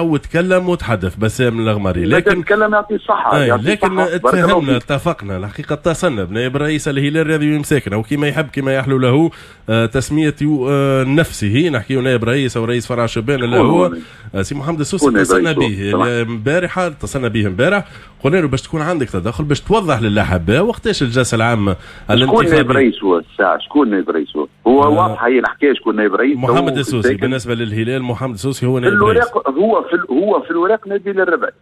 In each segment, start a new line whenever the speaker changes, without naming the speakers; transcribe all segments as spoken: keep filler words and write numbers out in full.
وتكلم وتحدث بسام الغماري،
لكن تكلم يعطي الصحة.
آه لكن اتفهمنا اتفقنا الحقيقة، اتصلنا بنائب رئيس الهلال الرياضي مساكن او كما يحب كما يحلو له آه تسمية آه نفسه، نحكي نائب رئيس او رئيس فرع شبان اللي هو آه سي محمد السوسي. اتصلنا به امبارحة، اتصلنا به امبارح، قلنا له باش تكون عندك تدخل باش توضح للاحباء وقتاش الجلسة العامة
الانتخابية. شكون نائب رئيس هو الساعة؟ شكون نائب رئيس هو؟ هو آه واضحة هي الحكاية، شكون نائب رئيس؟
محمد السوسي. بالنسبة للهلال محمد السوسي هو نائب رئيس.
هو في هو في الوراق نبيل الربعي،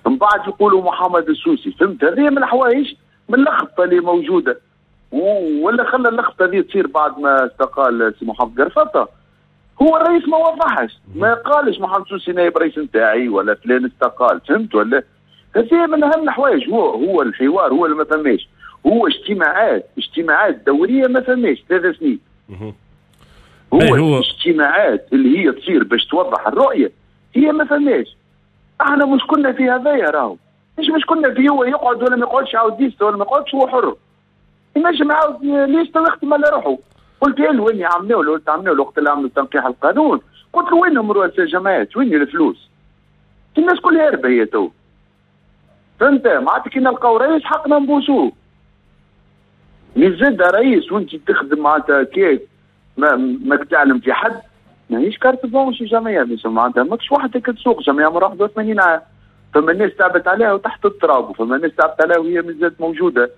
من بعد يقولوا محمد السوسي، فهمت؟ هذه من الحوايج من اللخبطة اللي موجودة، ولا خلى اللخبطة هذه تصير بعد ما استقال سي محمد قرفطه. هو الرئيس ما وضحش، ما قالش محمد السوسي نائب رئيس نتاعي ولا فلان استقال، فهمت ولا؟ هذه من اهم الحوايج. هو هو الحوار هو اللي ما فماش، هو اجتماعات اجتماعات دورية ما فماش ثلاث سنين. هو, هو اجتماعات اللي هي تصير باش توضح الرؤية هي ما فماش. احنا مش كنا في هذايا راهو، مش مش كنا في هو يقعد ولا ما يقعدش، يعاود liste ولا ما يقعدش، هو حر ينجم يعاود liste ويخدم على روحه. قلت له وين عملوا قلت عملوا وقت اللي عملوا تنقيح القانون، قلت له وينهم رؤساء الجماعات؟ وين الفلوس؟ الناس كلها هاربه هي تو، فهمت؟ معناتها كي نلقاو رئيس حقنا نبوسوه. مي زاد رئيس وانت تخدم معناتها كيف ما ماك تعلم في حد، ماهيش carte blanche الجمعية، معناتها ماكش وحدك تسوق جمعية عمرها واحد وثمانين عام، فما الناس تعبت عليها وتحت التراب، وفما الناس تعبت عليها وهي مازالت موجودة.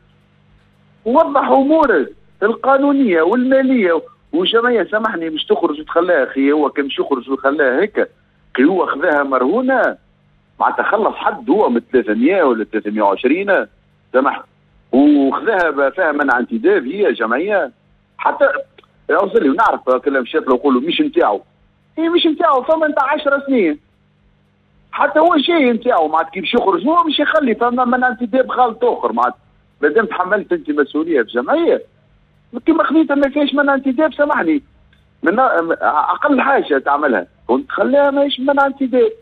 وضح امورك القانونية والمالية وجمعية سامحني مش تخرج وتخليها، اخي هو كان مش يخرج ويخليها هيك، كي هو خذاها مرهونه معناتها خلص حد هو من ثلاثمية ولا ثلاثمية وعشرين سامحني، وخذاها فيها منع انتداب هي جمعية. حتى اوصل لي ونعرف كلام مشيت له نقولوا مش نتاعو، هي مش نتاعو فما نتاع عشر سنين، حتى هو شيء نتاعو معناتها كي باش يخرج هو مش يخلي فما منع انتداب غلط اخر. معناتها مادام تحملت انت مسؤولية في جمعية كيما خذيتها ما فيهاش منع انتداب، سامحني من اقل حاجة تعملها كنت تخليها ماهيش منع انتداب،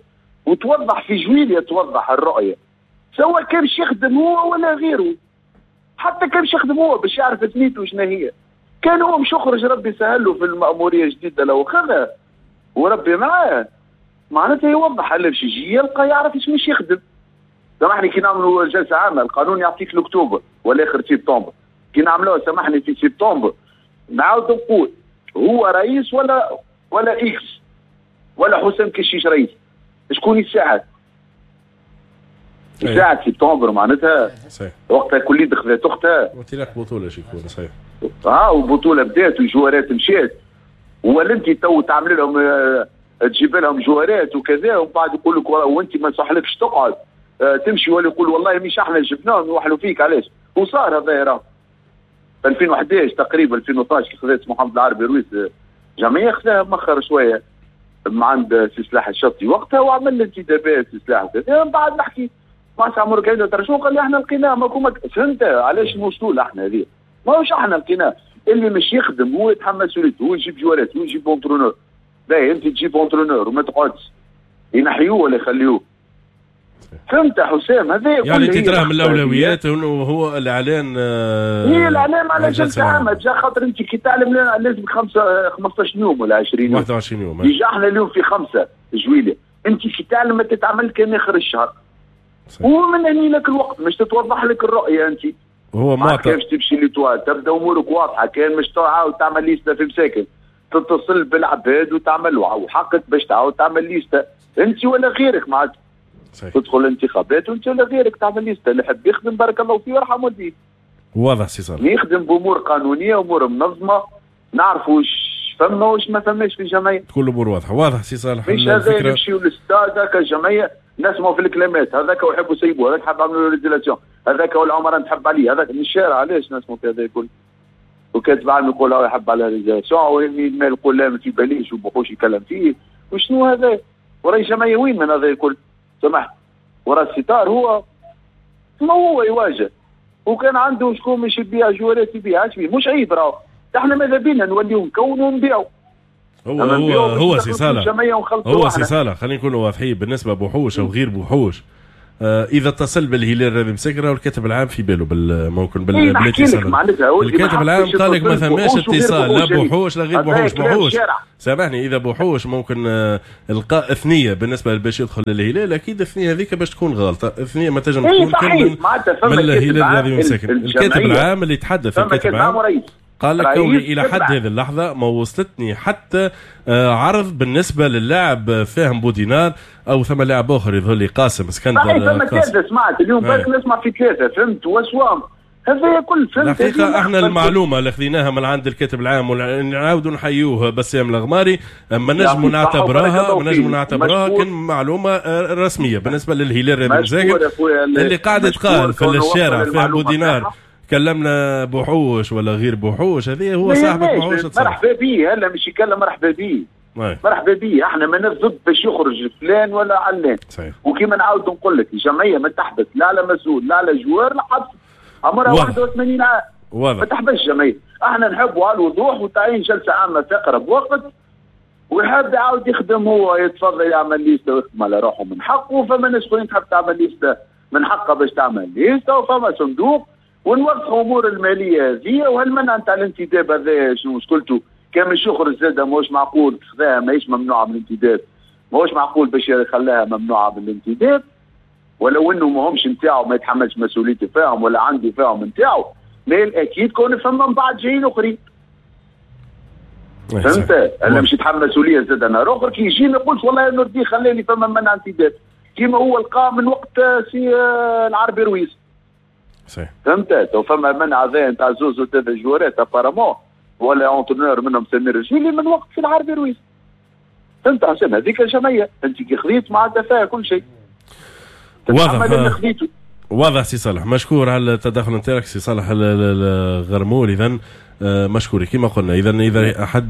وتوضح في جويلية توضح الرؤية، سواء كان باش يخدم هو ولا غيره، حتى كان باش يخدم هو باش يعرف ثنيته شنو هي. كان هو مش يخرج ربي سهل له في المأمورية الجديدة لو خذها وربي معاه، معناتها يوضح اللي باش يجي يلقى يعرف ايش مش يخدم. سامحني كي نعملوا جلسة عامة القانون يعطيك لاكتوبر ولا اخر سبتمبر، كي نعملوها سامحني في سبتمبر نعاود نقول هو رئيس ولا ولا X ولا حسام كشيش رئيس، شكون يساعد؟ يساعد سبتمبر معناتها صحيح، وقتها كل خذات اختها
وانطلاق بطولة شي يكون صحيح.
اه وبطولة بدات وجوارات مشات، ولا انت تو تعمل لهم آه تجيب لهم جوارات وكذا ومن بعد يقول لك وانت ما صحلكش تقعد آه تمشي، ولا يقول والله مش احنا جبناهم يوحلوا فيك علاش؟ وصار هذا راه ألفين وحداش تقريبا ألفين واثناش كي خذات محمد العربي رويس جمعية خذاها مخر شوية من عند سي سلاح الشطي وقتها وعمل انتدابات سي سلاح وكذا. من بعد نحكي مع سي عمر كاين ترى قال لي احنا لقيناه ما فهمت علاش نوصلوا احنا هذه؟ ماهوش احنا لقيناه، اللي مش يخدم هو يتحمل مسؤوليته، هو يجيب جوارات هو يجيب entraîneur. باهي انت تجيب entraîneur وما تقعدش ينحيوه ولا يخليوه. فهمت حسام؟ هذا
يعني انت تراه من الاولويات انه هو الاعلان. آه
هي الاعلان على جلسه عامة جا، خاطر انت كي تعلم لازم خمسة خمسطاش يوم ولا عشرين يوم
واحد وعشرين يوم.
déjà احنا اليوم في خمسة جويليه، انت كي تعلم ما تتعمل كان اخر الشهر. ومن هني لك الوقت مش تتوضح لك الرؤية انت.
هو معطى
كيفاش تمشي l'Étoile تبدا امورك واضحة، كان مش تعاود تعمل liste في مساكن تتصل بالعباد وتعمل وحقك باش تعاود تعمل liste انت ولا غيرك معناتها. تدخل الانتخابات وانت ولا غيرك تعمل liste، اللي يحب يخدم بارك الله فيه ويرحم والديه.
واضح سي صالح.
يخدم بامور قانونية امور منظمة، نعرفوا واش فما واش ما فماش في الجمعية.
كل الامور واضحة، واضح سي صالح.
مش هذا نمشيو للستاد هكا الجمعية نسمعوا في الكلمات، هذاك ويحبوا يسيبوه، هذاك حاب يعملوا résiliation، هذاك هو العمر نحب عليه، هذاك من الشارع علاش نسمعوا في هذا الكل؟ وكاتب عام يقول هو يحب على résiliation، والمال يقول لا ما في باليش وبخوش يكلم فيه، وشنو هذا؟ وراي جمعية وين من هذا الكل؟ سمحت ورا الستار هو ما هو يواجه، وكان عنده شكون مش يبيع جوارات يبيع، مش عيب راهو، احنا ماذا بينا نوليو نكونوا ونبيعوا.
هو هو هو سي صالح، هو سي صالح خلينا نكونوا واضحين بالنسبة بوحوش او غير بوحوش، اذا اتصل بالهلال الرياضي مساكن والكاتب العام في باله ممكن بالاتصال. الكاتب العام قال لك ما ثماش اتصال لا بوحوش لا غير بوحوش. بوحوش سامحني، اذا بوحوش ممكن القاء ثنيه بالنسبة باش يدخل للهلال، اكيد الثنية هذيك باش تكون غلطه، الثنية ما تنجم تكون كان من, من الهلال الرياضي مساكن. الكاتب العام اللي تحدث، الكاتب العام قال لك كوني الى حد هذه اللحظة ما وصلتني حتى عرض بالنسبة للاعب فاهم بودينار او ثم لاعب اخر يظهر لي قاسم اسكندر.
صحيح ثم ثلاثة، سمعت اليوم بالك نسمع في ثلاثة، فهمت وسوام هذا كل فهمت.
الحقيقة احنا المعلومة اللي خذيناها من عند الكاتب العام ونعاودوا نحيوه بسام الغماري، ما نجموا نعتبرها ما نجموا نعتبرها كان معلومة رسمية بالنسبة للهلال الرياضي مساكن اللي قاعد تقال في الشارع فاهم بودينار كلمنا بوحوش ولا غير بوحوش، هذه هو صاحبك بوحوش.
مرحبا بيه، هلا مش يكلم مرحبا بيه، مرحبا بيه. احنا ما ضد باش يخرج فلان ولا علان. وكيما نعاود نقول لك الجمعية ما تحبس لا على مسؤول لا على joueur لا حبس، عمرها واحد وثمانين عام ما تحبسش الجمعية. احنا نحبوا على الوضوح وتعيين جلسه عامة في اقرب وقت، ويحب يعاود يخدم هو يتفضل يعمل liste ويخدم على روحه من حقه. فما ناس اخرين تحب تعمل liste من حقها باش تعمل liste، وفما صندوق ونوضحوا امور المالية هذه. وهالمنع نتاع الانتداب هذا شنو مشكلته؟ كان مش يخرج زاده ماهوش معقول، خذاها ماهيش ممنوعة من الانتداب، ماهوش معقول باش يخليها ممنوعة من الانتداب، ولو انه ماهمش نتاعو ما يتحملش مسؤوليته فيهم ولا عنده فيهم نتاعو، mais الاكيد كون فما من بعد جايين اخرين. فهمت؟ انا مش يتحمل مسؤولية زاد نهار اخر كي يجي ما يقولش والله نردي خلاني فما منع انتداب، كيما هو لقى من وقت سي العربي رويس.
صحيح.
فهمت؟ تو فما منع هذا نتاع زوز وثلاثة جوارات apparemment ولا entraîneur منهم سمير الجيلي من وقت في العربي رويس. فهمت حسين؟ هذيك الجمعية انت كي خذيت معناتها فيها كل شيء.
واضح واضح سي صالح، مشكور على التدخل نتاعك سي صالح الغرمول. اذا مشكور كما قلنا، اذا اذا احد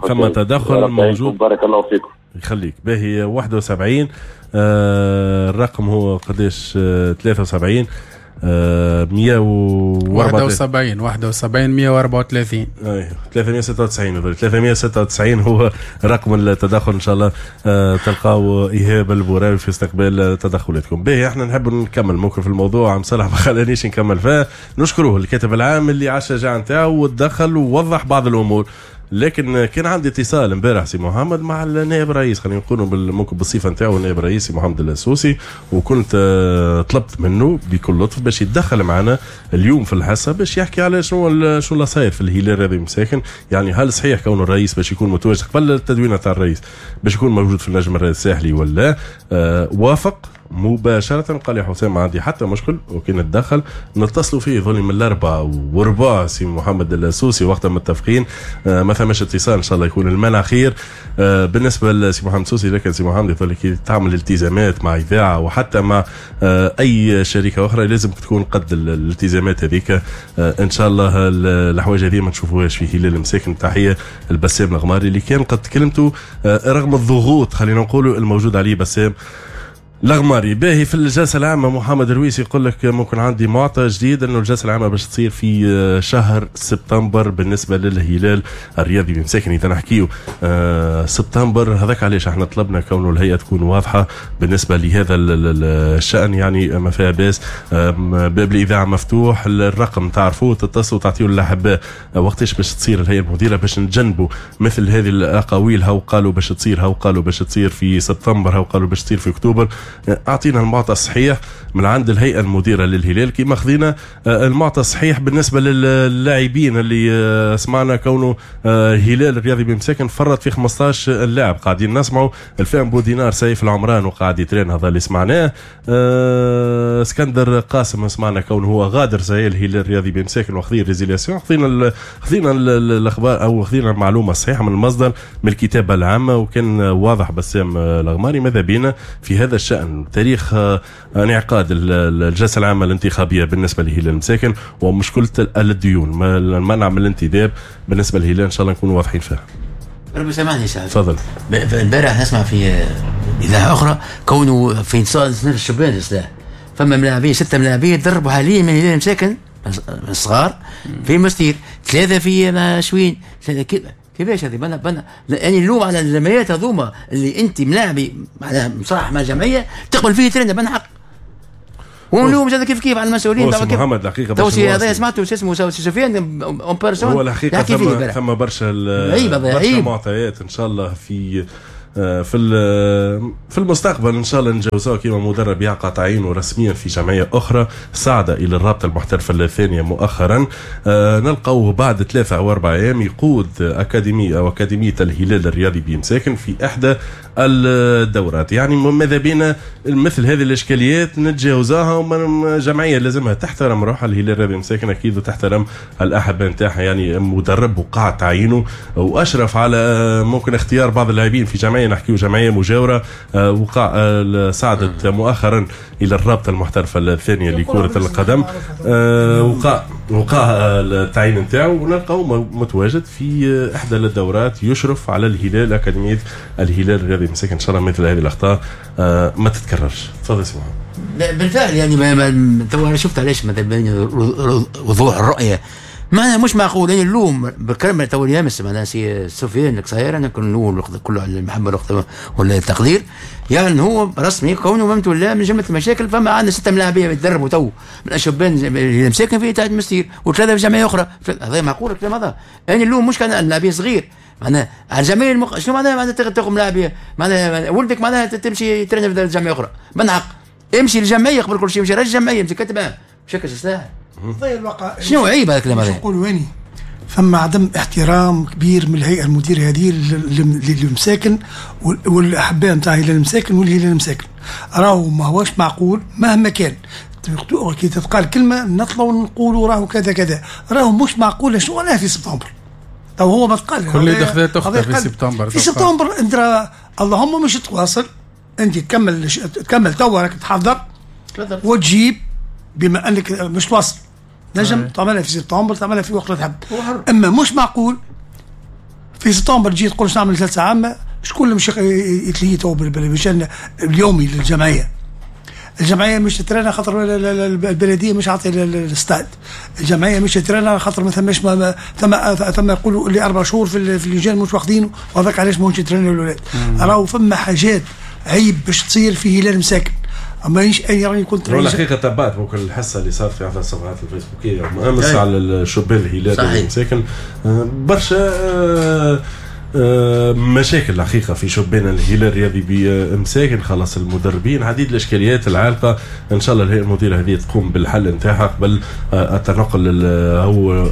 ثم تدخل موجود
بارك الله فيكم.
يخليك. باهي واحد وسبعين آه الرقم هو قداش؟ آه ثلاثة وسبعين آه مية
وواحد وسبعين واحد وسبعين مية وأربعة وثلاثين
اي ثلاثمية وستة وتسعين ثلاثمية وستة وتسعين هو رقم التدخل. ان شاء الله آه تلقاو ايهاب البوراوي في استقبال تدخلاتكم. باهي احنا نحب نكمل ممكن في الموضوع، عم صالح ما خلانيش نكمل فيه. نشكروه الكاتب العام اللي على الشجاعة نتاعو وتدخل ووضح بعض الامور. لكن كان عندي اتصال امبارح سي محمد مع النائب الرئيس، خلينا نقولوا ممكن بالصفة نتاعو النائب الرئيس محمد السوسي، وكنت طلبت منه بكل لطف باش يتدخل معنا اليوم في الحصة باش يحكي على شنو شنو اللي صاير في الهلال الرياضي مساكن. يعني هل صحيح كون الرئيس باش يكون متواجد قبل التدوينه تاع الرئيس باش يكون موجود في النجم الساحلي ولا؟ أه وافق مباشرة، قال لي حسام ما عندي حتى مشكل وكي نتدخل. نتصلوا فيه ظلي من الأربعة وربع سي محمد السوسي وقتها متفقين، آه ما ثماش اتصال، إن شاء الله يكون المنع خير. آه بالنسبة لسي محمد السوسي، لكن سي محمد يقول لك تعمل التزامات مع إذاعة وحتى مع آه أي شركة أخرى لازم تكون قد الالتزامات هذيك. آه إن شاء الله الحوايج هذه ما نشوفوهاش في هلال المساكن. تحية البسام الغماري اللي كان قد كلمته آه رغم الضغوط خلينا نقولوا الموجود عليه بسام الغماري. باهي في الجلسة العامة محمد رويس يقول لك ممكن عندي معطى جديد انه الجلسة العامة باش تصير في شهر سبتمبر بالنسبة للهلال الرياضي بمساكن. اذا نحكيو سبتمبر هذاك علاش احنا طلبنا كونه الهيئة تكون واضحة بالنسبة لهذا الشأن، يعني ما فيها باس، باب الإذاعة مفتوح، الرقم تعرفوه، تتصلوا تعطيوا للأحباء وقتاش باش تصير الهيئة المديرة باش نتجنبوا مثل هذه الأقاويل، هاو قالوا باش تصير، هاو قالوا باش تصير في سبتمبر، هاو قالوا باش تصير في أكتوبر. اعطينا المعطى الصحيح من عند الهيئة المديرة للهلال، كما خذينا المعطى الصحيح بالنسبة للاعبين اللي سمعنا كونه هلال الرياضي بمساكن فرط في خمسطاش لاعب. قاعدين نسمعوا الفهم بودينار سيف العمران وقاعد يترين، هذا اللي سمعناه. اسكندر قاسم سمعنا كونه هو غادر زي الهلال الرياضي بمساكن وخذي résiliation. خذينا خذينا الاخبار او خذينا المعلومة الصحيحة من المصدر من الكتابة العامة، وكان واضح بسام الغماري ماذا بينا في هذا الشأن تاريخ انعقاد الجلسة العامة الانتخابية بالنسبة لهلال المساكن ومشكلة الديون المنع من الانتداب بالنسبة للهلال. إن شاء الله نكون واضحين فيها.
ربي سامحني سعد.
تفضل.
البارح نسمع في إذاعة أخرى كونه في صنف الشبان السلاح فما ملاعبين ستة ملاعبين تدربوا حاليا من هلال المساكن الصغار في مستير، ثلاثة في مشوين. كيفاش هذه؟ بنا بنا يعني اللوم على الجمعيات هذوما اللي انت ملاعبي معناها مصالح مع الجمعية تقبل فيه ترند بنا حق. ونلوم زاد كيف كيف على المسؤولين
تاع محمد الحقيقة
تو هذا سمعته شو اسمه سفيان en personne.
هو الحقيقة ثم ثم برشا برشا معطيات ان شاء الله في في في المستقبل ان شاء الله نجوزوه كيما مدرب يقع تعيينه رسميا في جمعية اخرى صعد الى الرابطة المحترفه الثانية مؤخرا. نلقوه بعد ثلاثة او اربع ايام يقود اكاديمية او اكاديمية الهلال الرياضي بمساكن في احدى الدورات. يعني ماذا بينا مثل هذه الاشكاليات نتجاوزها، ومن جمعية لازمها تحترم روحها الهلال الرياضي بمساكن اكيد، وتحترم الاحبة نتاعها. يعني مدرب وقع تعيينه واشرف على ممكن اختيار بعض اللاعبين في جمعية، نحكيو جمعية مجاوره وقع صعدت مؤخرا الى الرابطة المحترفه الثانية لكرة القدم، وقع وقع التعيين نتاعو ونلقاو متواجد في احدى الدورات يشرف على الهلال اكاديمية الهلال الرياضي مساكن. ان شاء الله مثل هذه الاخطاء ما تتكررش. تفضل سي محمد.
بالفعل يعني ما تو انا شفت علاش مثلا وضوح الرؤية معناها مش معقول. يعني اللوم بالكلمة تو يامس معناها سي سفيان القصير انا كن نقول كله على المحبة ولا التقدير، يعني هو رسمي كونه ممت ولا من جملة المشاكل. فما عندنا ستة ملاعبيه يتدربوا تو من الشبان اللي مساكن في تاع المستير وثلاثة في جمعية اخرى. هذا معقول الكلام هذا؟ يعني اللوم مش كان اللاعبين صغير معناها على الجمعية المق... شنو معناها معناها تاخذ ملاعبيه معناها ولدك معناها تمشي ترن في جمعية اخرى. من حق امشي للجمعية قبل كل شيء، امشي للجمعية امشي كتبها مشكل سلاح. شنو عيب هذا الكلام هذا؟
نقول ويني ثم عدم احترام كبير من الهيئة المديرة هذه للمساكن والاحباء نتاع هلال المساكن والهلال المساكن. راهو ما هوش معقول مهما كان كي تتقال كلمة نطلعوا نقولوا راهو كذا كذا، راهو مش معقول. شنو معناها في سبتمبر؟ تو هو ما تقال
كل دخلات اخرى في سبتمبر.
في سبتمبر انت اللهم مش تواصل، انت تكمل تكمل توا راك تحضر وتجيب بما انك مش تواصل نجم تعملها في سبتمبر تعملها في وقت اللي تحب. اما مش معقول في سبتمبر تجي تقول باش نعمل جلسه عامة. شكون اللي مش يتلهي تو بالشان اليومي للجمعية؟ الجمعية مش تترانا خاطر البلدية مش عاطيه الاستاد، الجمعية مش تترانا خاطر ما ثماش ثم ثم يقولوا اللي اربع شهور في اللجان مش واخدينه وهذاك علاش ماهوش يترانا الاولاد. راهو فما حاجات عيب باش تصير في هلال مساكن. مانيش انا راني كنت
الحقيقة تبعت ممكن الحصة اللي صارت في احدى الصفحات الفيسبوكيه امس على الشبان الهلال المساكن، برشا مشاكل الحقيقة في شبان الهلال الرياضي بمساكن، خلاص المدربين، عديد الاشكاليات العالقة. ان شاء الله الهيئة المديرة هذه تقوم بالحل نتاعها قبل التنقل او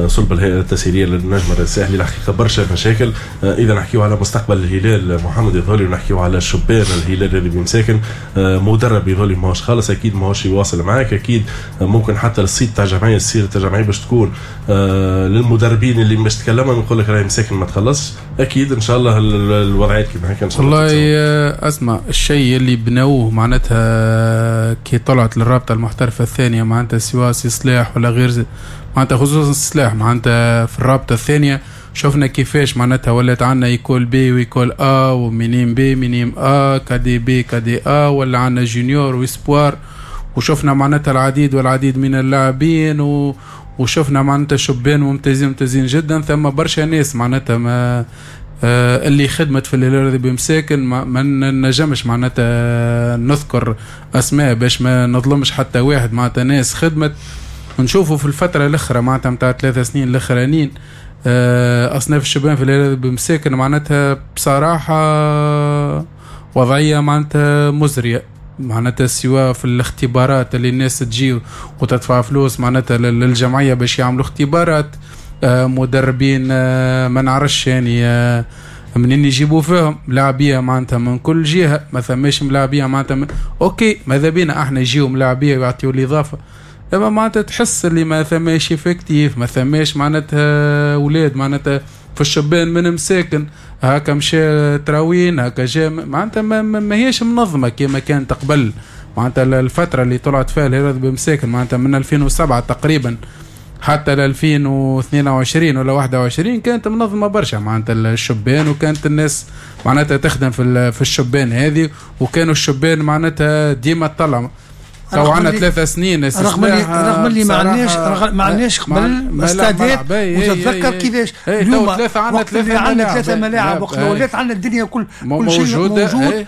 صلب الهيئة التسييريه للنجم الساحلي. الحقيقة برشا مشاكل. اذا نحكيو على مستقبل الهلال محمد يظهر ونحكيو على شبان الهلال الرياضي بمساكن، مدرب يظهر ماهوش خالص، اكيد ماهوش يواصل معاك، اكيد ممكن حتى الصيت تاع الجمعية السيرة تاع الجمعية باش تكون للمدربين اللي مش تكلموا يقول لك راهي مساكن ما تخلصش. اكيد ان شاء الله الوضعيات كيما هكا ان شاء الله.
والله اسمع الشيء اللي بنوه معناتها كي طلعت للرابطة المحترفه الثانية معناتها سواء سلاح ولا غير معناتها خصوصا السلاح معناتها في الرابطة الثانية شفنا كيفاش معناتها ولات عندنا école B و école A و minimes B minimes A cadets B cadets A، ولا عندنا junior و espoirs، وشفنا معناتها العديد والعديد من اللاعبين و وشفنا معناتها شبان ممتازين ممتازين جدا. ثم برشا ناس معناتها ما آه اللي خدمت في الهلال بمساكن ما, ما نجمش معناتها نذكر اسماء باش ما نظلمش حتى واحد. معناتها ناس خدمت ونشوفوا في الفترة الاخرى معناتها نتاع ثلاثة سنين الاخرانيين آه اصناف الشبان في الهلال بمساكن معناتها بصراحة وضعية معناتها مزرية. معناتها سواء في الاختبارات اللي الناس تجي وتدفع فلوس معناتها للجمعية باش يعملوا اختبارات، آه مدربين آه ما نعرفش يعني آه منين يجيبوا فيهم ملاعبيه معناتها من كل جهة، ما ثماش ملاعبيه معناتها من... OK ماذا بينا احنا يجيو ملاعبيه ويعطيو الاضافة، اما معناتها تحس اللي ما ثماش effectif، ما ثماش معناتها اولاد معناتها في الشبان من مساكن هكا مشى تراوين هكا جا معناتها ما, ما هيش منظمة كما كانت قبل. معناتها الفترة اللي طلعت فيها الهلال بمساكن معناتها من ألفين وسبعة تقريبا حتى ل ألفين واثنين وعشرين ولا واحد وعشرين كانت منظمة برشا معناتها الشبان، وكانت الناس معناتها تخدم في في الشبان هذه، وكانوا الشبان معناتها ديما تطلع. تو عندنا ثلاثة سنين
رغم اللي رغم اللي ما عندناش ما عندناش قبل استادات، وتتذكر كيفاش اليوم
ثلاثة عندنا ثلاثة
عندنا ثلاثة ملاعب وقت ولات عندنا الدنيا كل كل شيء موجود.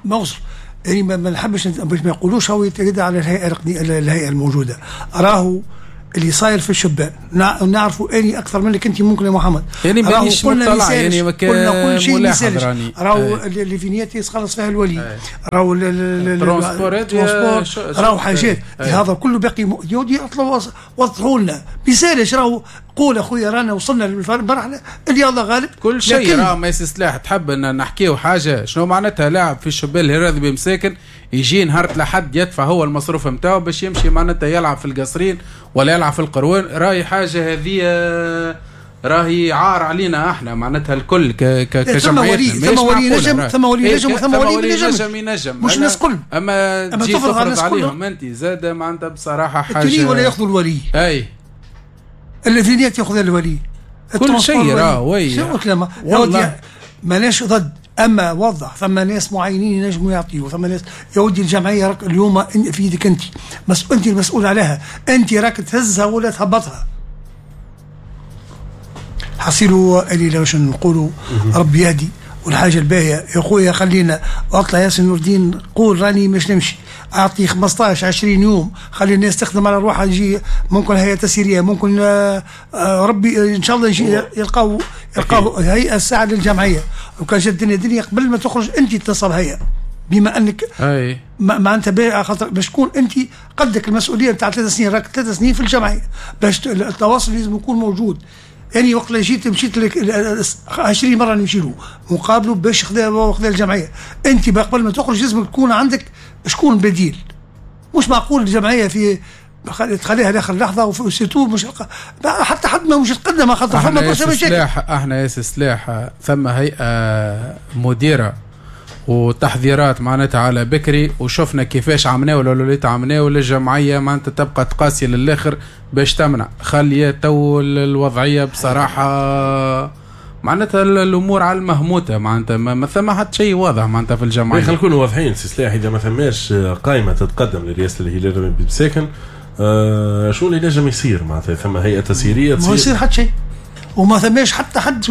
موصل يعني ما نحبش باش ما يقولوش هو يتعدى على الهيئة الهيئة الموجودة. راهو اللي صاير في الشبان نعرفوا اني اكثر منك انت ممكن يا محمد.
يعني مانيش مطلع يعني
قلنا كل شيء ما يسالش. راهو اللي vignette يخلص فيها الولي، راهو ال
transport،
راهو حاجات هذا كله باقي يودي اطلعوا وضحوا لنا ما يسالش. راهو قول اخويا رانا وصلنا للمرحلة اللي الله غالب
كل شيء. راه ما سلاح تحب ان نحكيو حاجة شنو معناتها لاعب في الشبان الهرادي بمساكن يجي نهار لحد يدفع هو المصروف نتاعو باش يمشي معناتها يلعب في القصرين ولا يلعب في القروان. راهي حاجة هذه راهي عار علينا احنا معناتها الكل كجمعية.
ثم ولي نجم، ثم ولي نجم، ثم ولي نجم
ينجم،
مش الناس كل.
اما تجي تفرض عليهم انت زاد معناتها بصراحة حاجة
ولا ياخذوا الولي.
اي
ال vignette ياخذ الولي
كل شيء راه oui
شنو كلام والله ماناش ضد. اما وضح ثم ناس معينين ينجموا يعطيوا، ثم ناس يا ودي الجمعية راك اليوم في يدك انت، مس... انت المسؤول عليها، انت راك تهزها ولا تهبطها. حصيلوا اللي باش نقولوا ربي يهدي. والحاجة الباهيه يا خويا خلينا اطلع ياسين نور الدين قول راني مش نمشي، اعطي خمسطاش عشرين يوم خلي الناس تخدم على روحها. يجي ممكن هيئة تسييريه، ممكن ربي ان شاء الله يجي يلقاو يلقاو هيئة الساعة للجمعية. وكان جات الدنيا دنيا قبل ما تخرج انت تنصب هيئة، بما انك معناتها خاطر باش تكون انت قدك المسؤولية نتاع ثلاث سنين، راك ثلاث سنين في الجمعية باش التواصل لازم يكون موجود. يعني وقت اللي جيت مشيت لك عشرين مرة نمشي له مقابله باش خذا خذا الجمعية. انت قبل ما تخرج لازم تكون عندك شكون بديل. مش معقول الجمعية في تخليها لاخر لحظة و surtout مش حتى حد ما مش يتقدم خاطر فما برشا مشاكل.
احنا يا سلاح ثم هيئة مديره وتحذيرات معناتها على بكري، وشفنا كيفاش عمناه ولا وليت عمناه للجمعية معناتها تبقى تقاسي للاخر باش تمنع. خليه تو الوضعية بصراحة معناتها الامور على المهموته، معناتها ما ثم حتى شيء واضح معناتها في الجمعية.
خلينا نكونوا واضحين سي سلاح، اذا ما ثماش قائمة تتقدم لرئاسة الهلال بمساكن آه شو اللي نجم يصير؟ معناتها ثم هيئة تسييريه
ما يصير حتى شيء، وما ثماش حتى حد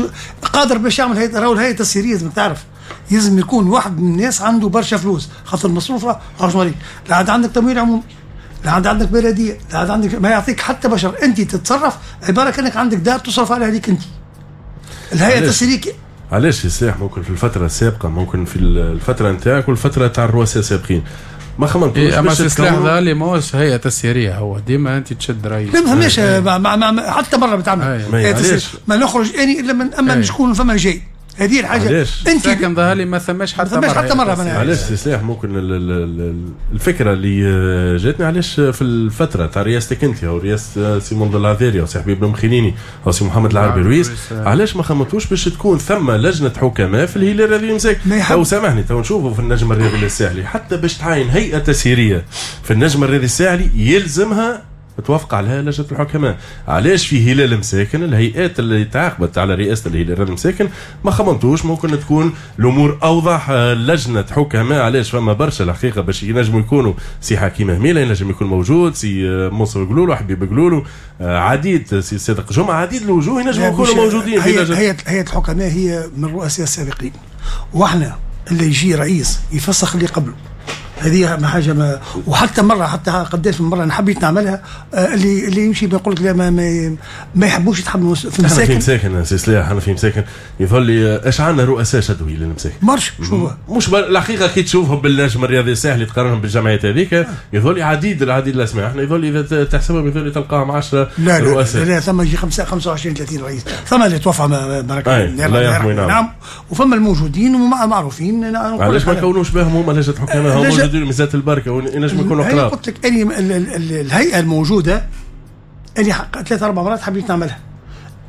قادر باش يعمل هيئة. راهو الهيئة التسييريه لازم تعرف لازم يكون واحد من الناس عنده برشا فلوس، خاطر المصروف راه لا عاد عندك تمويل عمومي، لا عاد عندك بلديه، لا عاد عندك ما يعطيك حتى بشر. انت تتصرف عبارة كانك عندك دار تصرف عليها ليك انت. الهيئة التسييريه
علاش يا سلاح ممكن في الفترة السابقة، ممكن في الفترة نتاعك والفترة تاع الرؤساء السابقين ما خممتوش
إيه؟ اما السلاح ذا اللي ماهوش هيئة تسييريه، هو ديما انت تشد رئيس.
لا ما فماش حتى مرة بتعمل ما نخرج اني الا من اما شكون فما جاي. هذه الحاجة
انت لكن ظهر لي ما ثماش حتى مرة،
حتى مرة.
علاش سي سلاح ممكن الفكرة اللي جاتني علاش في الفترة تاع رئاستك انت او رئاسة سي منذر العذاري او سي حبيب المخينيني او سي محمد العربي رويس، علاش ما خممتوش باش تكون ثم لجنة حكماء في الهلال الرياضي مساكن؟ تو سامحني تو نشوفوا في النجم الرياضي الساحلي حتى باش تعاين هيئة تسييريه في النجم الرياضي الساحلي يلزمها توافق عليها لجنة الحكماء. علاش في هلال مساكن الهيئات اللي تعاقبت على رئاسة الهلال المساكن ما خممتوش ممكن تكون الامور اوضح لجنة حكماء؟ علاش فما برشا الحقيقة باش ينجموا يكونوا سي حكيم هميله ينجم يكون موجود، سي منصور قلولو، حبيب قلولو، عديد، سي صادق جمعه، عديد الوجوه ينجموا يكونوا موجودين
في لجنة. هيئة هيئة الحكماء هي من الرؤساء السابقين، واحنا اللي يجي رئيس يفسخ اللي قبله. هذه حاجة ما، وحتى مرة حتى قداش من مرة انا حبيت نعملها اللي اللي يمشي بيقول لك لا ما ما, ما يحبوش يتحملوا في
مساكن. في مساكن سي سلاح، انا في مساكن يظل لي اش عندنا رؤساء شدوا للمساكن
مرش شو
مش الحقيقة كي تشوفهم بالنجم الرياضي الساحلي تقارنهم بالجمعيات هذيك يظل لي عديد العديد الاسماء. احنا يظل اذا تحسبهم يظل لي تلقاهم عشرة
لا
رؤساء.
لا لا ثم يجي خمسة وعشرين ثلاثين رئيس، ثم اللي توفى نعم، وفما الموجودين ومعروفين.
علاش ما كونوش بهم هما لجنة حكماء؟ هم موجودين ميزات البركة ونجم يكونوا قراب.
قلت لك اني الهيئة الموجودة اني ثلاث اربع مرات حبيت نعملها،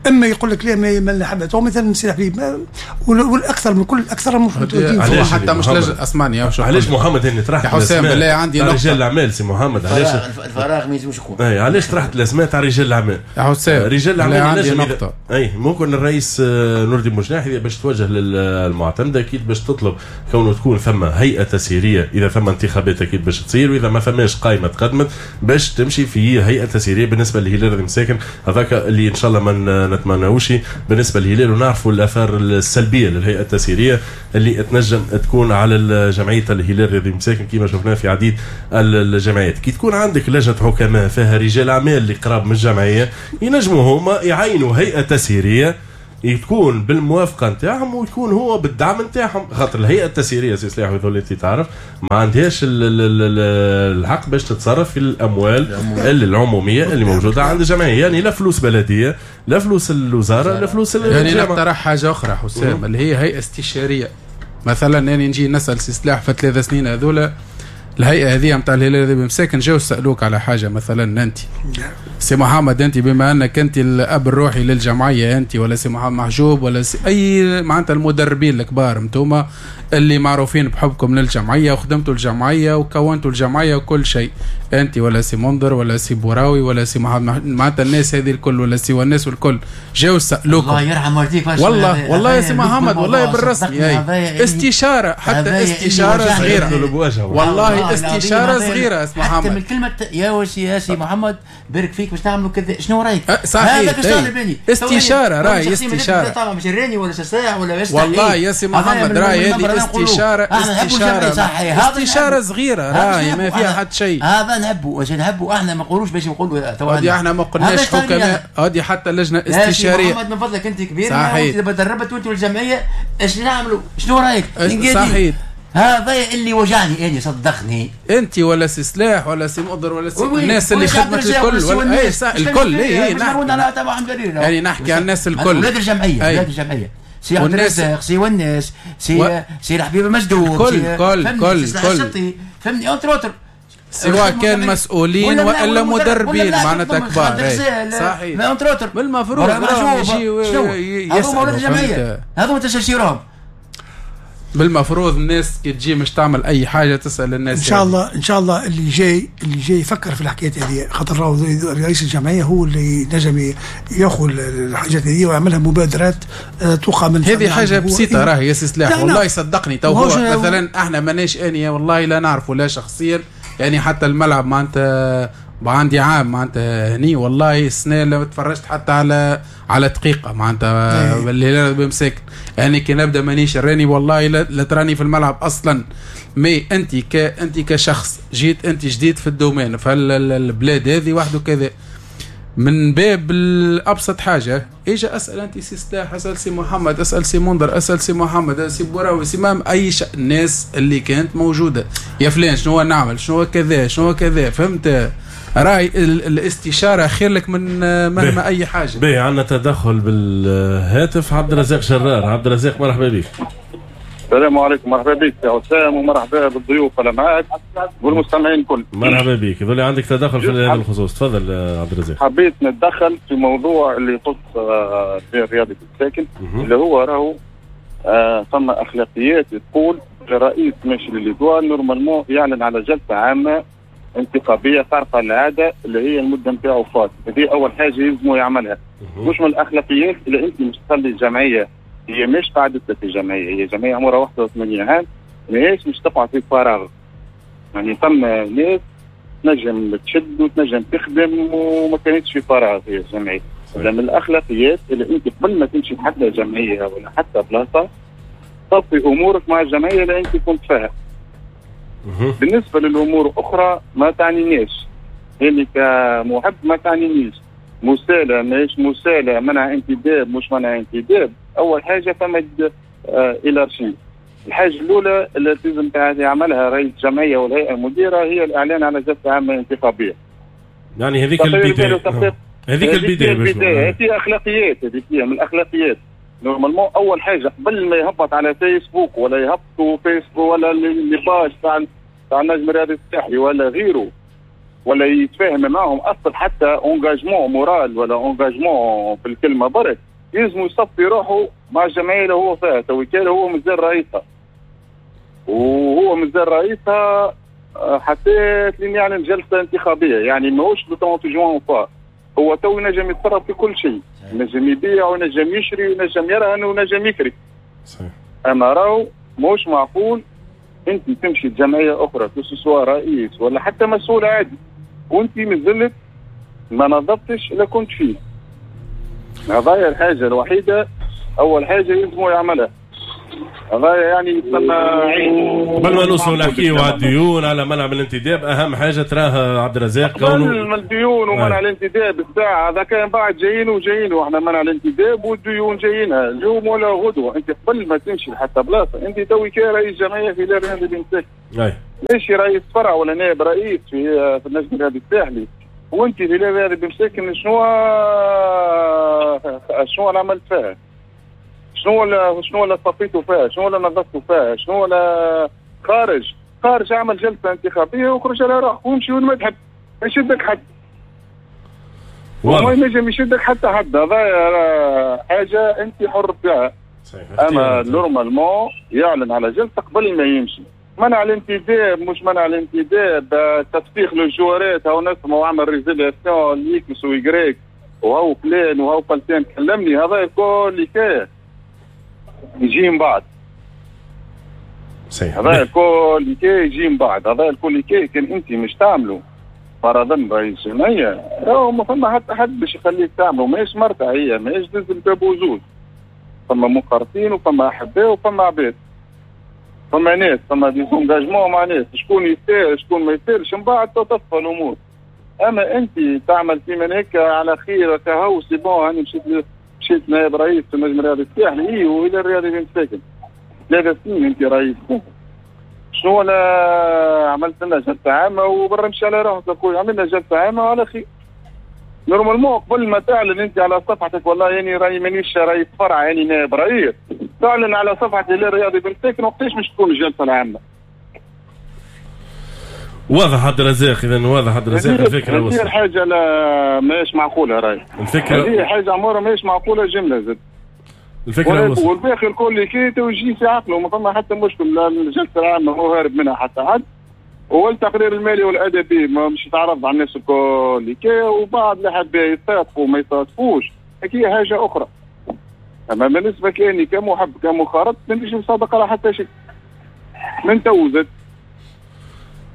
اما يقول لك لا ما ما حبيت مثلا سي حبيب، والاكثر من كل الاكثر موجودين.
حتى مش لجنة اسمعني
علاش محمد اني طرحت
يا حسام بالله عندي نقطة
رجال الاعمال سي محمد، علاش
الفراغ ما يلزمش يكون؟
اي علاش طرحت الاسماء تاع رجال الاعمال
يا حسام؟
رجال الاعمال
عندي نقطة.
اي ممكن الرئيس نور الدين بوجناح باش توجه للمعتمده اكيد باش تطلب كونه تكون ثم هيئة تسييريه، اذا ثم انتخابات اكيد باش تصير، واذا ما ثماش قائمة تقدمت باش تمشي في هيئة تسييريه بالنسبة للهلال المساكن. هذاك اللي ان شاء الله ما نتمناوش بالنسبة للهلال، ونعرفوا الاثار السلبية للهيئة التسييريه اللي تنجم تكون على جمعية الهلال الرياضي مساكن كما شفناه في عديد الجمعيات. كي تكون عندك لجنة حكماء فيها رجال اعمال اللي قراب من الجمعية، ينجموا هما يعينوا هيئة تسييريه يكون بالموافقة نتاعهم ويكون هو بالدعم نتاعهم، خاطر الهيئة التسييريه سي سلاح ويظل انت تعرف ما عندهاش الحق باش تتصرف في الاموال العمومية اللي موجودة عند الجمعية، يعني لا فلوس بلديه لا فلوس الوزارة لا فلوس
الجامعة. يعني نقترح حاجة اخرى حسام اللي هي هيئة استشارية مثلا، يعني نجي نسال سي سلاح في ثلاث سنين هذولا الهيئة هذه نتاع الهلال الرياضي مساكن جاو سالوك على حاجة مثلا، انت سي محمد انت بما انك انت الاب الروحي للجمعية انت، ولا سي محمد محجوب، ولا سي اي معناتها المدربين الكبار انتوما اللي معروفين بحبكم للجمعية وخدمتوا الجمعية وكونتوا الجمعية وكل شيء، انت ولا سي منذر ولا سي بوراوي ولا سي محمد، معناتها الناس هذه الكل ولا سي والناس والكل جاو سالوكم.
الله يرحم والديك
والله والله يا سي محمد والله بالرسمي استشاره، حتى استشاره صغيرة والله استشاره صغيرة اسمع محمد،
حتى من كلمة يا وسي يا سي محمد بارك فيك باش نعملوا كذا، شنو رايك؟
صحيح استشاره راي استشاره
طبعا مش الراني ولا سساع ولا
والله يا سي محمد راي هذه استشاره استشاره استشاره صغيرة راي ما فيها حتى شيء.
هذا نحبه واش نحبه احنا ما نقولوش باش نقولوا
هذه احنا ما قلناش حكماء، هذه حتى لجنة استشارية.
محمد من فضلك انت كبير وانت دربت وانت والجمعية اش نعملوا؟ شنو رايك؟
صحيح
هذا اللي وجعني اني صدقني
انت ولا سي سلاح ولا سي مقدر ولا سي الناس اللي خدمت الكل ولا اي الكل اي يعني نحكي على الناس الكل،
ولاد الجمعية ولاد الجمعية سي عبد الرزاق سي وناس سي سي الحبيب المجدوب
كل كل كل
كل فهمني entre autres،
سواء كان مسؤولين والا مدربين معناتها كبار. صحيح بالمفروض
يجي يسالوا ولاد الجمعية هذوما تستشيرهم
بالمفروض. الناس كي تجي مش تعمل اي حاجة تسال الناس.
ان شاء الله ان شاء الله اللي جاي اللي جاي يفكر في الحكايات هذه، خاطر راهو رئيس الجمعية هو اللي نجم ياخذ الحاجات هذه ويعملها مبادرات توقع من
هذه حاجة بسيطة راهي يا سي سلاح والله صدقني تو هو مثلا احنا ماناش انية والله لا نعرفه لا شخصيا، يعني حتى الملعب معناتها عندي عام معناتها هني والله السنة لو تفرجت حتى على على دقيقة معناتها الهلال بمساكن، يعني كي نبدا مانيش راني والله لا تراني في الملعب اصلا. mais انت ك انت كشخص جيت انت جديد في ال domaine في البلاد هذه وحده كذا، من باب الابسط حاجة اجا اسال انت سي سلاح، اسال سي محمد، اسال سي منذر، اسال سي محمد، سي بوراوي، سي مام، اي ش... الناس اللي كانت موجودة يا فلان شنو نعمل شنو كذا شنو كذا، فهمت؟ راي الاستشارة خير لك من مهما اي حاجة.
باهي عندنا تدخل بالهاتف عبد الرزاق شرار. عبد الرزاق مرحبا بك.
السلام عليكم، مرحبا بك يا وسام ومرحبا بالضيوف اللي معاك والمستمعين الكل.
مرحبا بك، يظل عندك تدخل في هذا الخصوص، تفضل عبد الرزاق.
حبيت نتدخل في موضوع اللي يخص الرياضي الساكن اللي هو راهو آه ثم اخلاقيات تقول الرئيس ماشي ل l'Étoile normalement يعلن على جلسه عامة انتخابية خارقة للعادة اللي هي المدة نتاعو فات، هذه اول حاجة يلزمو يعملها. مش من الاخلاقيات اللي انت مش تخلي الجمعية هي مش قاعدة في الجمعية، هي جمعية عمرها واحد وثمانين عام ماهيش مش تقع في فراغ. يعني ثم ناس تنجم تشد وتنجم تخدم وما كانتش في فراغ هي الجمعية. من الاخلاقيات اللي انت قبل ما تمشي حتى جمعية ولا حتى بلاصة تصفي امورك مع الجمعية اللي انت كنت فيها. بالنسبة للامور اخرى ما تعنينيش، اللي كمحب ما تعنينيش، مسالة ماهيش مسالة، منع انتداب مش منع انتداب. اول حاجة فما hiérarchie. الحاجة الاولى اللي لازم يعملها رئيس الجمعية والهيئة المديرة هي الاعلان على جلسه عامة انتخابية.
يعني هذيك البداية، هذيك البداية
البداية هذه اخلاقيات، هذيك من الاخلاقيات. normalement اول حاجة قبل ما يهبط على فيسبوك ولا يهبطوا فيسبوك ولا les pages تاع تاع النجم الرياضي الساحلي ولا غيره ولا يتفاهم معهم اصلا حتى engagement moral ولا engagement في الكلمة برك، يلزم يصفي روحه مع الجمعية اللي هو فيها. تو كان هو مازال رئيسها وهو مازال رئيسها حتى لين يعلن جلسه انتخابية، يعني ماهوش le ثلاثين جوان فا هو تو ينجم يتصرف في كل شيء، ينجم يبيع وينجم يشري وينجم يرهن وينجم يكري.
صحيح.
اما راهو ماهوش معقول انت تمشي لجمعية اخرى سواء رئيس ولا حتى مسؤول عادي وانت مازلت ما نظفتش اللي كنت فيه. هذايا الحاجة الوحيدة، اول حاجة يلزمو يعملها. هذا يعني يتسمى عيب.
قبل ما نوصلوا نحكيو على الديون على منع من الانتداب، اهم حاجة تراها عبد الرزاق
كونه من الديون ومنع الانتداب الساعة هذا كان بعد جايين وجايين، واحنا منع الانتداب والديون جايينها اليوم ولا غدوه. انت قبل ما تمشي لحتى بلاصة انت توي كرئيس جمعية في الهلال الرياضي بمساكن، ماشي رئيس فرع ولا نائب رئيس في في النجم الرياضي الساحلي، وانت في الهلال الرياضي بمساكن شنو شنو عملت فيها؟ شنو ولا شنو ولا صفيتوا فيها؟ شنو ولا نظفتوا فيها؟ شنو ولا خارج؟ خارج اعمل جلسه انتخابية وخرج على روحك وامشي وين ما تحب، ما يشدك حد. وما ينجم يشدك حتى حد، هذا حاجة انت حر فيها. اما normalement يعلن على جلسه قبل ما يمشي. منع الانتداب مش منع الانتداب، تفسيخ للجوارات، هاو نسمع وعمل résiliation ل X و Y وهو فلان وهو فلتان كلمني، هذا الكل حكاية يجي من بعد. صحيح. هذا الكل يجي من بعد، هذا الكل كان انت مش تعمله فرضا رئيس جمعية، راهو ما فما حتى حد باش يخليك تعمله، ماهيش مرتع هي، ماهيش دز الباب وزوز. فما منخرطين وفما احباء وفما عباد. فما ناس، فما des engagements مع ناس، شكون يستاهل شكون ما يستاهلش، من بعد تتصفى الامور. اما انت تعمل كيما هيك على خير كهو c'est bon، هاني مشيت مشيت نائب رئيس في النجم الرياضي الساحلي، اي والى الرياضي بن ساكن ثلاث سنين انت رئيس، شنو ولا عملت لنا جلسه عامة وبرا مشي على روحك اخويا، عملنا جلسه عامة وعلى خير. normalement قبل ما تعلن انت على صفحتك والله يعني راني مانيش رئيس فرع يعني نائب رئيس، تعلن على صفحة الهلال الرياضي بن ساكن وقتاش باش تكون الجلسة العامة.
واضح عبد الرزاق، اذا واضح عبد الرزاق الفكرة
وصلت. هذه الحاجة لا ماهيش معقولة راهي.
الفكرة
هذه حاجة عمرها ماهيش معقولة جملة زاد.
الفكرة وصلت.
والباقي الكل كي توجيه في عقله ما فما حتى مشكل، لا الجلسة العامة هو هارب منها حتى حد، والتقرير المالي والادبي ما مش يتعرض على الناس الكل كي، وبعض اللي حاب يصادقوا ما يصادقوش هي حاجة اخرى. اما بالنسبة كاني كمحب كمخرط مانيش مصادق على حتى شيء من توزت.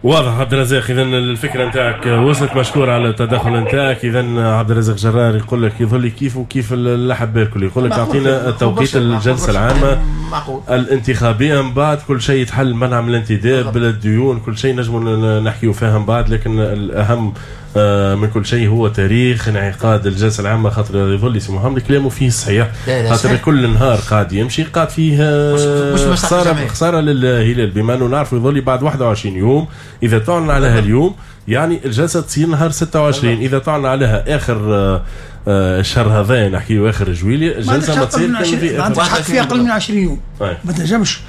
واضح عبد الرزاق، اذا الفكرة نتاعك وصلت، مشكور على التدخل نتاعك. اذا عبد الرزاق جرار يقول لك يظل لي كيف وكيف اللحب الكل، يقول لك اعطينا توقيت الجلسة العامة الانتخابية من بعد كل شيء يتحل، منع من الانتداب الديون كل شيء نجموا نحكيو فيها من بعد، لكن الاهم من كل شيء هو تاريخ انعقاد الجلسة العامة، خاطر يظل لي سي محمد كلامه فيه صحيح، خاطر كل نهار قاعد يمشي قاعد فيه خسارة خسارة للهلال، بما انه نعرفوا يظل بعد واحد وعشرين يوم اذا تعلن عليها اليوم يعني الجلسة تصير نهار ستة وعشرين، اذا تعلن عليها اخر الشهر هذا نحكيو اخر جويلية الجلسة ما تصير
في ما عندكش حق فيها اقل من عشرين يوم، ما تنجمش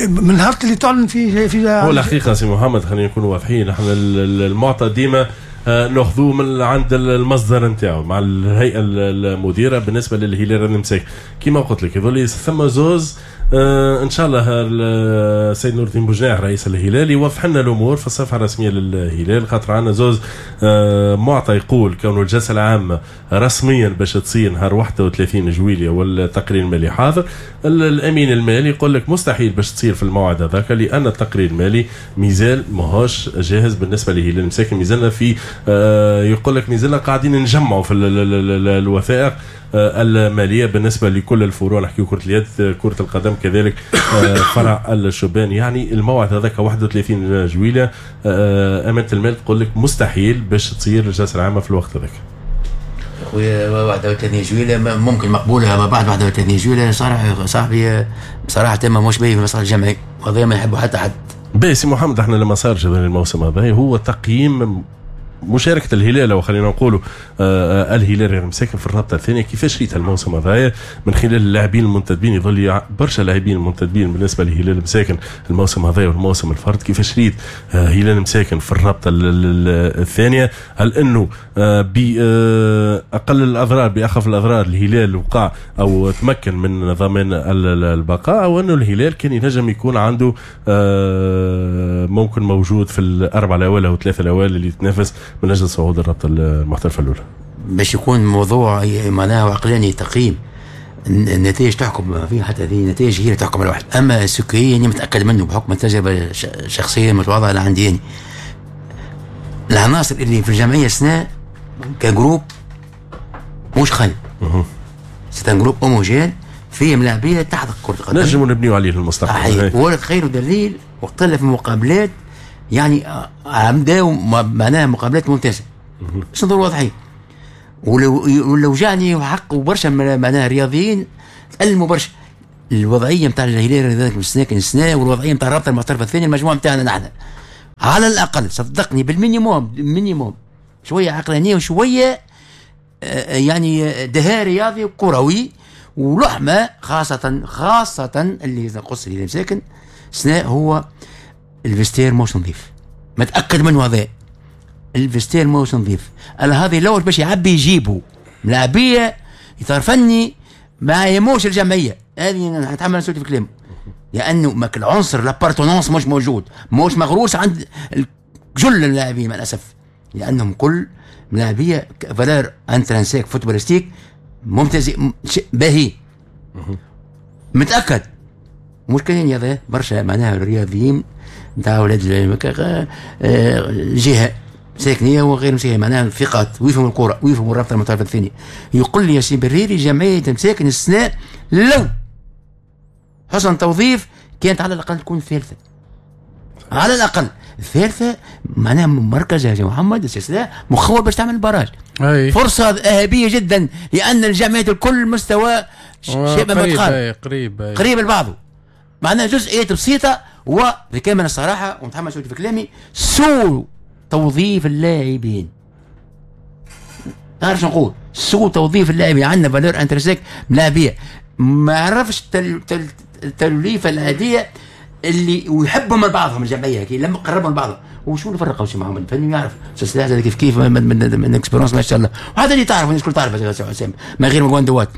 من نهار اللي تعلن فيه في
هو الحقيقة سي محمد خلينا نكونوا واضحين، نحن المعطى ديما ناخذوه من عند المصدر نتاعو مع الهيئة المديرة. بالنسبة للهلال المساك كما قلت لك يظل ثم زوز آه ان شاء الله السيد نور الدين بوجناح رئيس الهلال يوضح لنا الامور في الصفحة الرسمية للهلال، خاطر عندنا زوز آه معطى يقول كون الجلسة العامة رسميا باش تصير نهار واحد وثلاثين جويلية والتقرير المالي حاضر. الامين المالي يقول لك مستحيل باش تصير في الموعد هذاك لان التقرير المالي مازال ماهوش جاهز بالنسبة للهلال المساكن، مازلنا في آه يقول لك مازلنا قاعدين نجمعوا في الوثائق المالية بالنسبة لكل الفروع، نحكيو كره اليد كره القدم كذلك فرع الشبان، يعني الموعد هذاك واحد وثلاثين جويلية امانه المال تقول لك مستحيل باش تصير الجلسة العامة في الوقت هذاك.
خويا واحد وثلاثين جويلية ممكن مقبولة، ما بعد واحد وثلاثين جويلية صراحة صاحبي بصراحة ما مش باهي في المصلحة الجمعية، وهذا ما يحبوا حتى حد.
باهي سي محمد، احنا لما صار الموسم هذا هو تقييم مشاركة الهلال أو خلينا نقولوا آه الهلال المساكن في الرابطة الثانية، كيفاش ريت الموسم هذايا من خلال اللاعبين المنتدبين؟ يظل برشا لاعبين منتدبين بالنسبة للهلال المساكن الموسم هذايا والموسم الفرد، كيفاش ريت آه هلال المساكن في الرابطة الثانية؟ هل أنه آه بأقل الأضرار بأخف الأضرار الهلال وقع أو تمكن من ضمان البقاء، أو أنه الهلال كان ينجم يكون عنده آه ممكن موجود في الأربعة الأوائل أو الثلاثة الأوائل اللي تنافس من اجل صعود الرابطة المحترفه الاولى؟
باش يكون موضوع معناه عقلاني تقييم النتائج تحكم فيه، حتى هذه النتائج هي اللي تحكم الواحد. اما السكريه اني متاكد منه بحكم التجربة الشخصية المتواضعة اللي عندي، يعني العناصر اللي في الجمعية السنة ك groupe مش خايب، c'est un groupe homogène فيه ملاعبيه تحت كره القدم
نجموا نبنيو عليه المستقبل.
ولا خير دليل وقت في المقابلات يعني عمداو معناها مقابلات ممتازة باش نظروا واضحين. ولو ولو جاني وحق وبرشا معناها رياضيين تألموا برشا الوضعية نتاع الهلال الرياضي السنة السنة والوضعيه نتاع الرابطة المحترفه الثانية المجموعة نتاعنا نحن على الاقل صدقني بال minimum minimum شوية عقلانية وشوية يعني دهاء رياضي وكروي ولحمه خاصة خاصة اللي نقص اللي مساكن سنة هو ال vestiaire موش نظيف متاكد منه هذا ال vestiaire موش نظيف. هذا الاول باش يعبي يجيبه ملاعبيه يطرفني ما يموش الجمعية هذه نتحمل مسؤوليتي في كلامه لانه ماك العنصر l'appartenance مش موجود مش مغروس عند جل اللاعبين مع الاسف لانهم كل ملاعبيه valeur intrinsèque footballistique ممتاز باهي متاكد. مش كاين هذا برشا معناها الرياضيين نتاع اولاد الجهة ساكنيه وغير مساكنيه معناها ثقات ويفهموا الكره ويفهموا الرابطة المحترفه الثانية. يقول لي يا سي بريري جمعية مساكن السنة لو حسن توظيف كانت على الاقل تكون الثالثة على الاقل الثالثة معناها مركز يا محمد السلسلة مخول باش تعمل barrage. أي. فرصة ذهبية جدا لان الجمعيات الكل مستوى شبه متقارب
قريب
قريب لبعضه معناها جزئيات بسيطة وبكامل الصراحة ونتحمل مسؤوليتي في كلامي سوء توظيف اللاعبين. تعرف شنو نقول؟ سوء توظيف اللاعبين عندنا valeur intrinsèque ملاعبيه ما عرفش التوليفه العادية اللي ويحبهم من بعضهم الجمعية كي لما قربهم لبعضهم وشو اللي فرقوا سي محمد الفني يعرف سلاح كيف كيف من من, من expérience ما شاء الله وهذا اللي تعرف الناس الكل تعرف يا حسام من غير مواندوات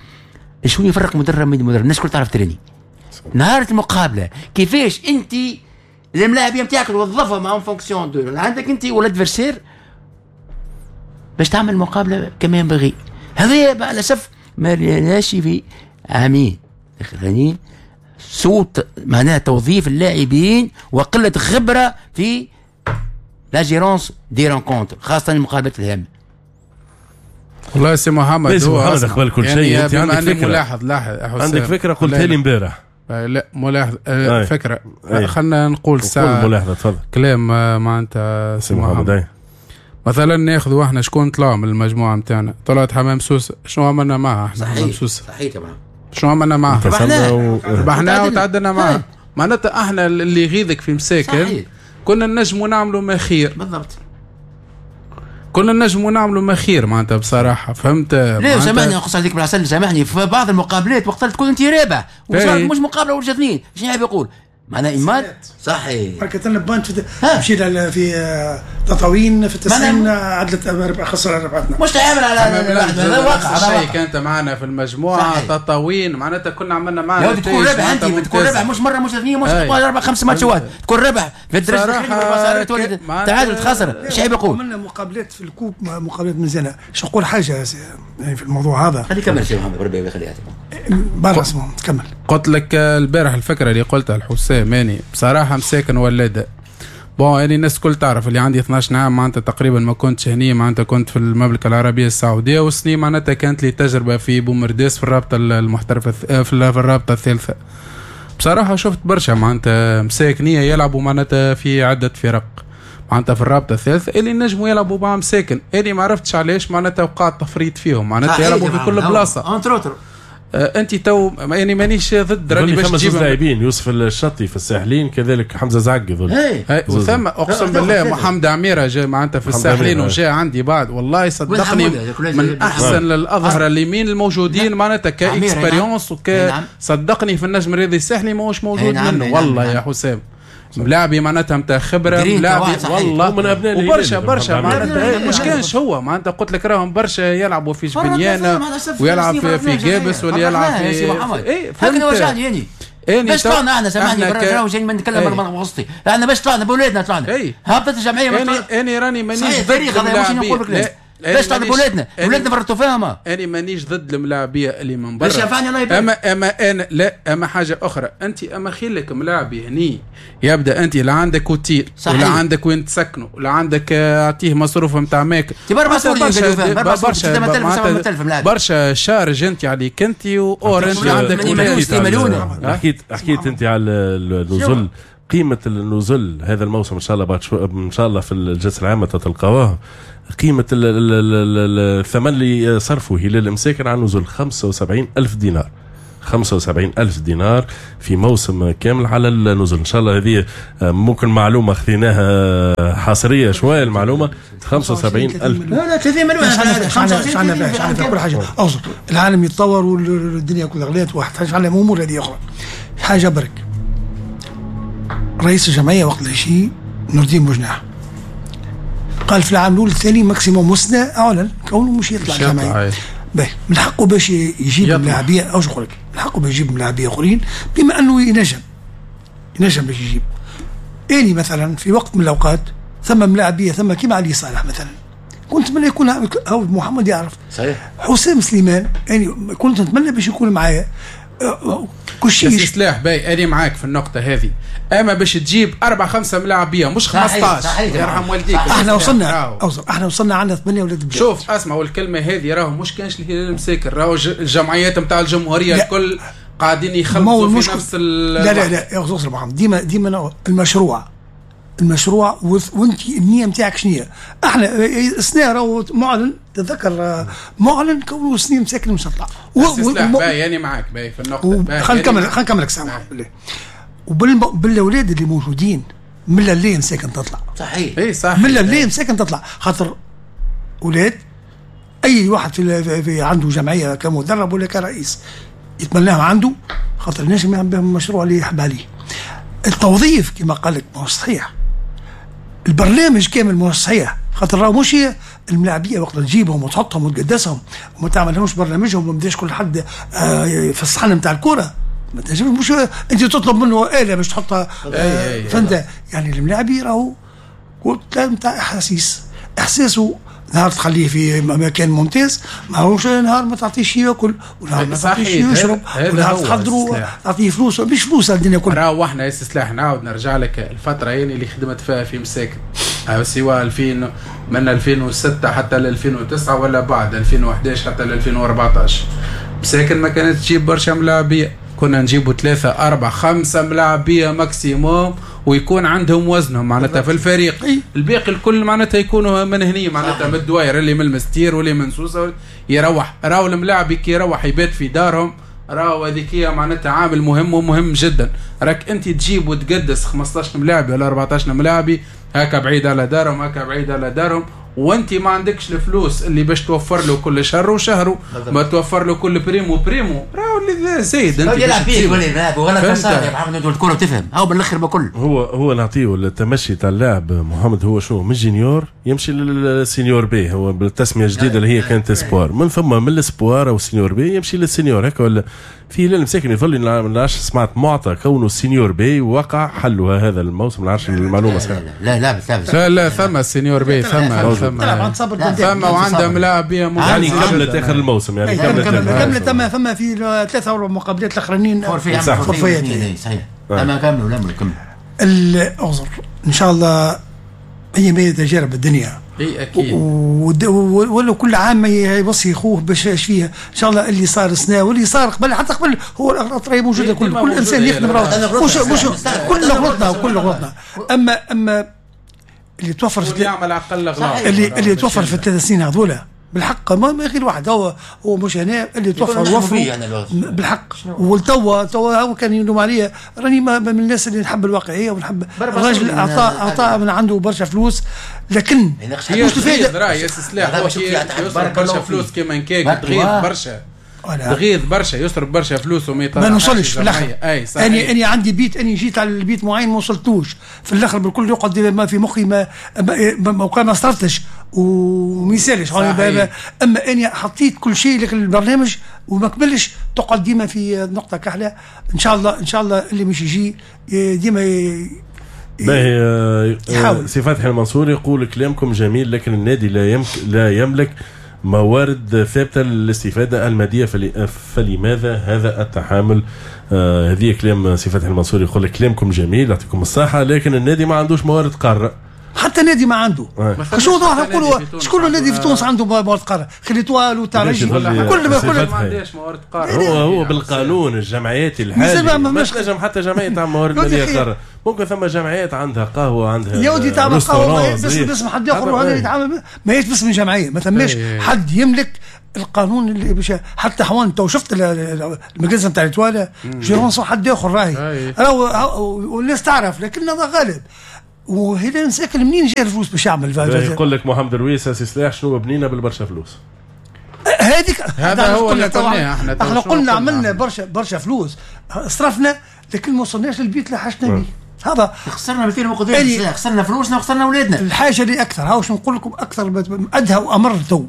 شو يفرق مدرب من مدرب الناس الكل تعرف تريني نهار المقابلة كيفاش انت الملاعبيه نتاعك توظفهم en fonction de عندك انت ولا adversaire باش تعمل مقابله كما ينبغي. هذا مع الاسف ما لناش في عامين الاخرانيين سوء معناها توظيف اللاعبين وقلة خبره في la gérance des rencontres خاصة المقابلات الهامة.
والله سي محمد
هو محمد قبل كل شيء يعني انت عندك فكرة
ملاحظ لاحظ
عندك فكرة قلتها لي امبارح.
لا ملاحظ أه فكرة خلينا نقول
ساعة ملاحظة تفضل
كلام معناتها سي محمد. أي. مثلا ناخذوا احنا شكون طلع من المجموعة نتاعنا طلعت حمام سوسة شنو عملنا معها احنا حمام سوسة
صحيح طبعا
شنو عملنا معها
ربحناها
و... ربحناها وتعدلنا معها معناتها احنا اللي يغيظك في مساكن صحيح. كنا نجموا نعملوا ما خير
بالضبط
كنا نجموا نعملوا ما خير معناتها بصراحة فهمت.
لا سامحني نقص عليك بالعسل سامحني في بعض المقابلات وقت تكون انت رابح وصارت مش مقابله ولا اثنين شنو يحب يقول معناها إيمان صحيح
بركة لنا بانت في مشينا في تطاوين في التسعين عدلت ربع خسر ربعتنا
مش تعامل على
هذا واقع الشيء كانت معنا في المجموعة تطاوين معناتها كنا عملنا معنا
تكون ربح انت تكون ربح مش مرة مش اثنين مش اربع خمس ماتشات تكون ربح في الدرجة تولي تعادل تخسر ايش عيب يقول.
عملنا مقابلات في ال coupe مقابلات مزيانه باش نقول حاجة يعني في الموضوع هذا
خلي كمل سي محمد ربي يخليها
برا اسمه كمل.
قلت لك البارح الفكرة اللي قلتها الحسام ماني بصراحة مساكن ولاده bon يعني الناس الكل تعرف اللي عندي اثناش عام معناتها تقريبا ما كنتش هني معناتها كنت في المملكة العربية السعودية وسنين معناتها كانت لي تجربه في بومرداس في الرابطة المحترفه في الرابطة الثالثة. بصراحة شفت برشا معناتها مساكنيه يلعبوا معناتها في عده فرق معناتها في الرابطة الثالثة اللي نجموا يلعبوا مع مساكن اللي ما عرفتش علاش معناتها وقع تفريط فيهم معناتها يلعبوا في كل بلاصة. آه انت تو يعني مانيش ضد راني
باش تجيب لاعبين يوسف الشطي في الساحلين كذلك حمزة زعقي ظل
وثم اقسم بالله محمد عميرة جاء معناتها في الساحلين وجاء عندي بعد والله صدقني من احسن الاظهرة اليمين الموجودين معناتها ك expérience وك صدقني في النجم الرياضي الساحلي ماهوش موجود منه والله يا حسام ملاعبي معناتها نتاع خبره ملاعبي والله
من ابناء
وبرشا برشا معناتها مش كانش هو معناتها قلت لك راهم برشا يلعبوا في جبنيانه ويلعب في, في جابس ولا يلعب في
اي فهمت وجعني يعني باش طلعنا احنا سامحني برا جاي ما نتكلم من وسطي احنا باش طلعنا بولادنا طلعنا هبطت الجمعية
انا انا راني مانيش
ضد باش تعرف ولادنا ولادنا فرطوا فيهم.
انا مانيش ضد الملاعبيه اللي من برا اما اما انا لا اما حاجة اخرى انت اما خيلك ملاعبي هني يبدا انت لا عندك اوتيل ولا عندك وين تسكنوا ولا عندك اعطيه مصروف نتاع ماكل برشا برشا charges انت عليك انت or انت عندك
حكيت حكيت انت على النزل قيمة النزل هذا الموسم ان شاء الله بعد شو ان شاء الله في الجلسة العامة تلقاوها قيمة الثمن اللي صرفه هلال المساكن على النزل خمسة وسبعين ألف دينار خمسة وسبعين ألف دينار في موسم كامل على النزل. إن شاء الله هذه ممكن معلومة خذيناها حصرية شوية المعلومة خمسة وسبعين ألف
لا لا ثلاثين مليون
شعنا كل حاجة أوصل العالم يتطور والدنيا كلها غلات واحد شعنا أمور هذه أخرى حاجة برك. رئيس الجمعية وقت الشيء نور الدين بوجناح قال في العام الأول الثاني maximum سنة أعلن كونه مش يطلع الجمعية باهي من حقه باش يجيب ملاعبية أو شو نقول لك من حقه باش يجيب ملاعبية آخرين بما أنه ينجم ينجم باش يجيب. أني مثلا في وقت من الأوقات ثم ملاعبية ثم كيما علي صالح مثلا كنت نتمنى يكون أو محمد يعرف
صحيح
حسام سليمان يعني كنت نتمنى باش يكون معايا كل شيء
سلاح باي. أنا معاك في النقطة هذه أما باش تجيب أربعة خمسة ملاعبية مش خمسطاش يرحم والديك.
احنا وصلنا احنا وصلنا عندنا ثمانية ولاد بلاد.
شوف اسمع والكلمة هذه راهو مش كانش الهلال المساكن راهو الجمعيات نتاع الجمهورية الكل قاعدين يخلصوا في نفس ال
لا لا لا يا أخي محمد ديما ديما المشروع المشروع وانت النية نتاعك شنو هي؟ احنا السنة راهو معلن تذكر معلن كونه سنين مساكن مش تطلع.
باهي يعني معاك باهي في النقطة.
خلينا نكمل خلينا نكمل لك سامح بالله. وبالاولاد اللي موجودين من الليل مساكن تطلع.
صحيح.
اي صح.
من الليل مساكن تطلع خاطر اولاد اي واحد في, في عنده جمعية كمدرب ولا كرئيس يتمناهم عنده خاطر نجم يعمل بهم المشروع اللي يحب عليه. التوظيف كما قال لك ما هو صحيح. البرنامج كامل مش صحيح خاطر راهو مش الملاعبيه وقت تجيبهم وتحطهم وتقدسهم وما تعملهمش برنامجهم وما تبداش كل حد في الصحن نتاع الكره ما تنجمش مش انت تطلب منه آلة باش تحطها فانت يعني الملاعبي راهو نتاع احاسيس احساسه نهار تخليه في مكان ممتاز ماهوش نهار ما تعطيش ياكل ونهار ما تعطيش يشرب ونهار تحضروا تعطيه فلوس مش فلوس الدنيا كلها.
راهو احنا يا سلاح نعاود نرجع لك الفترة يعني اللي خدمت فيها في مساكن سواء ألفين من ألفين وستة حتى ل ألفين وتسعة ولا بعد ألفين وأحد عشر حتى ل ألفين وأربعة عشر مساكن ما كانت تجيب برشا ملاعبيه كنا نجيبوا ثلاثة أربعة خمسة ملاعبية maximum ويكون عندهم وزنهم معناتها في الفريق. الباقي الكل معناتها يكونوا من هني معناتها من الدواير اللي من المستير واللي من سوسة يروح راهو الملاعب كي يروح يبات في دارهم راهو هذيك معناتها عامل مهم ومهم جدا. راك انت تجيب وتقدس خمسطاش ملاعبي ولا أربعطاش ملاعبي هكا بعيد على دارهم هكا بعيد على دارهم وانت ما عندكش الفلوس اللي باش توفر له كل شهر وشهرة ما توفر له كل prime و prime و راهو اللي زايد انت
يلعب فيه ولا يلعب ولا خسارة يا محمد الكره تفهم هاو بالاخر بكل
هو هو نعطيه التمشي تاع اللاعب محمد هو شو من junior يمشي لل senior B هو بالتسميه الجديدة اللي هي كانت espoir من ثم من ال espoir او senior B يمشي لل senior هكا ولا في هلال مساكن يظل ما سمعت معطى كونه senior B وقع حلها هذا الموسم ما نعرفش المعلومة صحيح.
لا لا لا
لا لا ثم senior B ثم ثم ثم وعندها ملاعبيه
يعني كملت اخر الموسم يعني
كملت كملت ثم ثم في ثلاثة اربع مقابلات الاخرانيين
forfait صحيح اما كملوا لا كملوا
الاعذر ان شاء الله هي ما تجارب الدنيا
اي اكيد
ولو كل عام يوصي اخوه باش فيها ان شاء الله اللي صار سنة واللي صار قبل حتى قبل هو الاغلاط راهي موجودة كل كل انسان يخدم راهو مش مش كل غلطنا وكل غلطنا اما اما اللي توفر في
يعمل اقل اغلاط
اللي اللي توفر في الثلاث سنين هذولا بالحق ما غير واحد هو هو مش هنا اللي توفر وفروا بالحق والتوا توا هو كان يلوم عليا راني من الناس اللي نحب الواقعية ونحب الراجل اعطى اعطى من عنده برشا فلوس لكن
مش الفائدة راهي يا سلاح يصرف برشا فلوس كيما نكاك تغيظ برشا تغيظ برشا يصرف برشا فلوس وما يطلعش
ما نوصلش في الاخر. اني اني عندي بيت اني جيت على البيت معين ما وصلتوش في الاخر بالكل يقعد ما في مخي ما ما, ما صرفتش وما يسالش اما اني حطيت كل شيء لك البرنامج وما كملش تقعد ديما في نقطة كحلة. ان شاء الله ان شاء الله اللي مش يجي ديما
باهي. سي فتحي المنصور يقول كلامكم جميل، لكن النادي لا يملك لا يملك موارد ثابتة للاستفادة المادية، فلماذا هذا التحامل؟ آه هذه كلام سي فتحي المنصور، يقول لك كلامكم جميل يعطيكم الصحة، لكن النادي ما عندوش موارد قارة.
حتى النادي ما عنده. شو نقولوا شكون النادي في تونس عنده موارد قارة؟ خلي l'Étoile والترجي
كل ما كل ما عندهاش موارد قارة. هو هو بالقانون الجمعيات الحالي ما تنجم حتى جمعية تعمل موارد ماليه قارة. ممكن ثم جمعيات عندها قهوة، عندها
يا ودي تعمل قهوة بس باسم حد اخر، وهذا يتعامل ماهيش باسم الجمعية. ما ثماش حد يملك القانون اللي باش حتى حوان. تو شفت المجلس نتاع l'Étoile gérance حد اخر راهي راهو والناس تعرف، لكن هذا غالب. وهلال مساكن منين جا الفلوس باش يعمل؟
يقول لك محمد رويس سي سلاح شنو بنينا بالبرشا فلوس.
هذيك
هذا هو اللي قلناه احنا.
احنا قلنا عملنا برشا برشا فلوس صرفنا، لكن ما وصلناش للبيت اللي حاجتنا به. هذا
خسرنا مثل ما قلت، خسرنا فلوسنا وخسرنا اولادنا.
الحاجة اللي اكثر هاو شنو نقول لكم اكثر ادهى وامر تو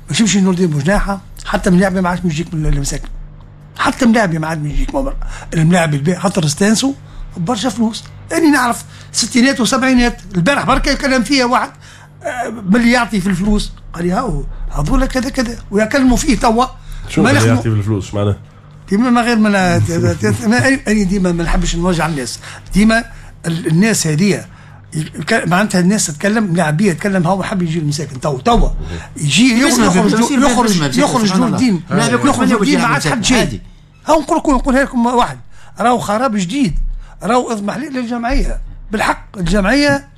باش يمشي نور الدين بوجناحه، حتى من لعبه ما عادش يجيك من المساكن، حتى من لعبه ما عاد يجيك الملاعب الباقي خاطر استانسوا برشا فلوس. أنا نعرف ستينات وسبعينات البارح بركة كلام فيها واحد من اللي يعطي في الفلوس قال لي هاو هذولا كذا كذا ويكلموا فيه توا.
شو اللي يعطي في الفلوس معناه؟
ديما ما غير ما أنا ديما ما نحبش نوجع الناس، ديما الناس هذه معناتها الناس تتكلم لاعبيه تتكلم هو حاب يجي المساكن تو توا يجي يخرج يخرج يخرج نور الدين يخرج نور الدين ما عادش حد شيء. هاو نقول لكم نقولها لكم واحد راهو خراب جديد، راهو اضمحلال للجمعية بالحق. الجمعية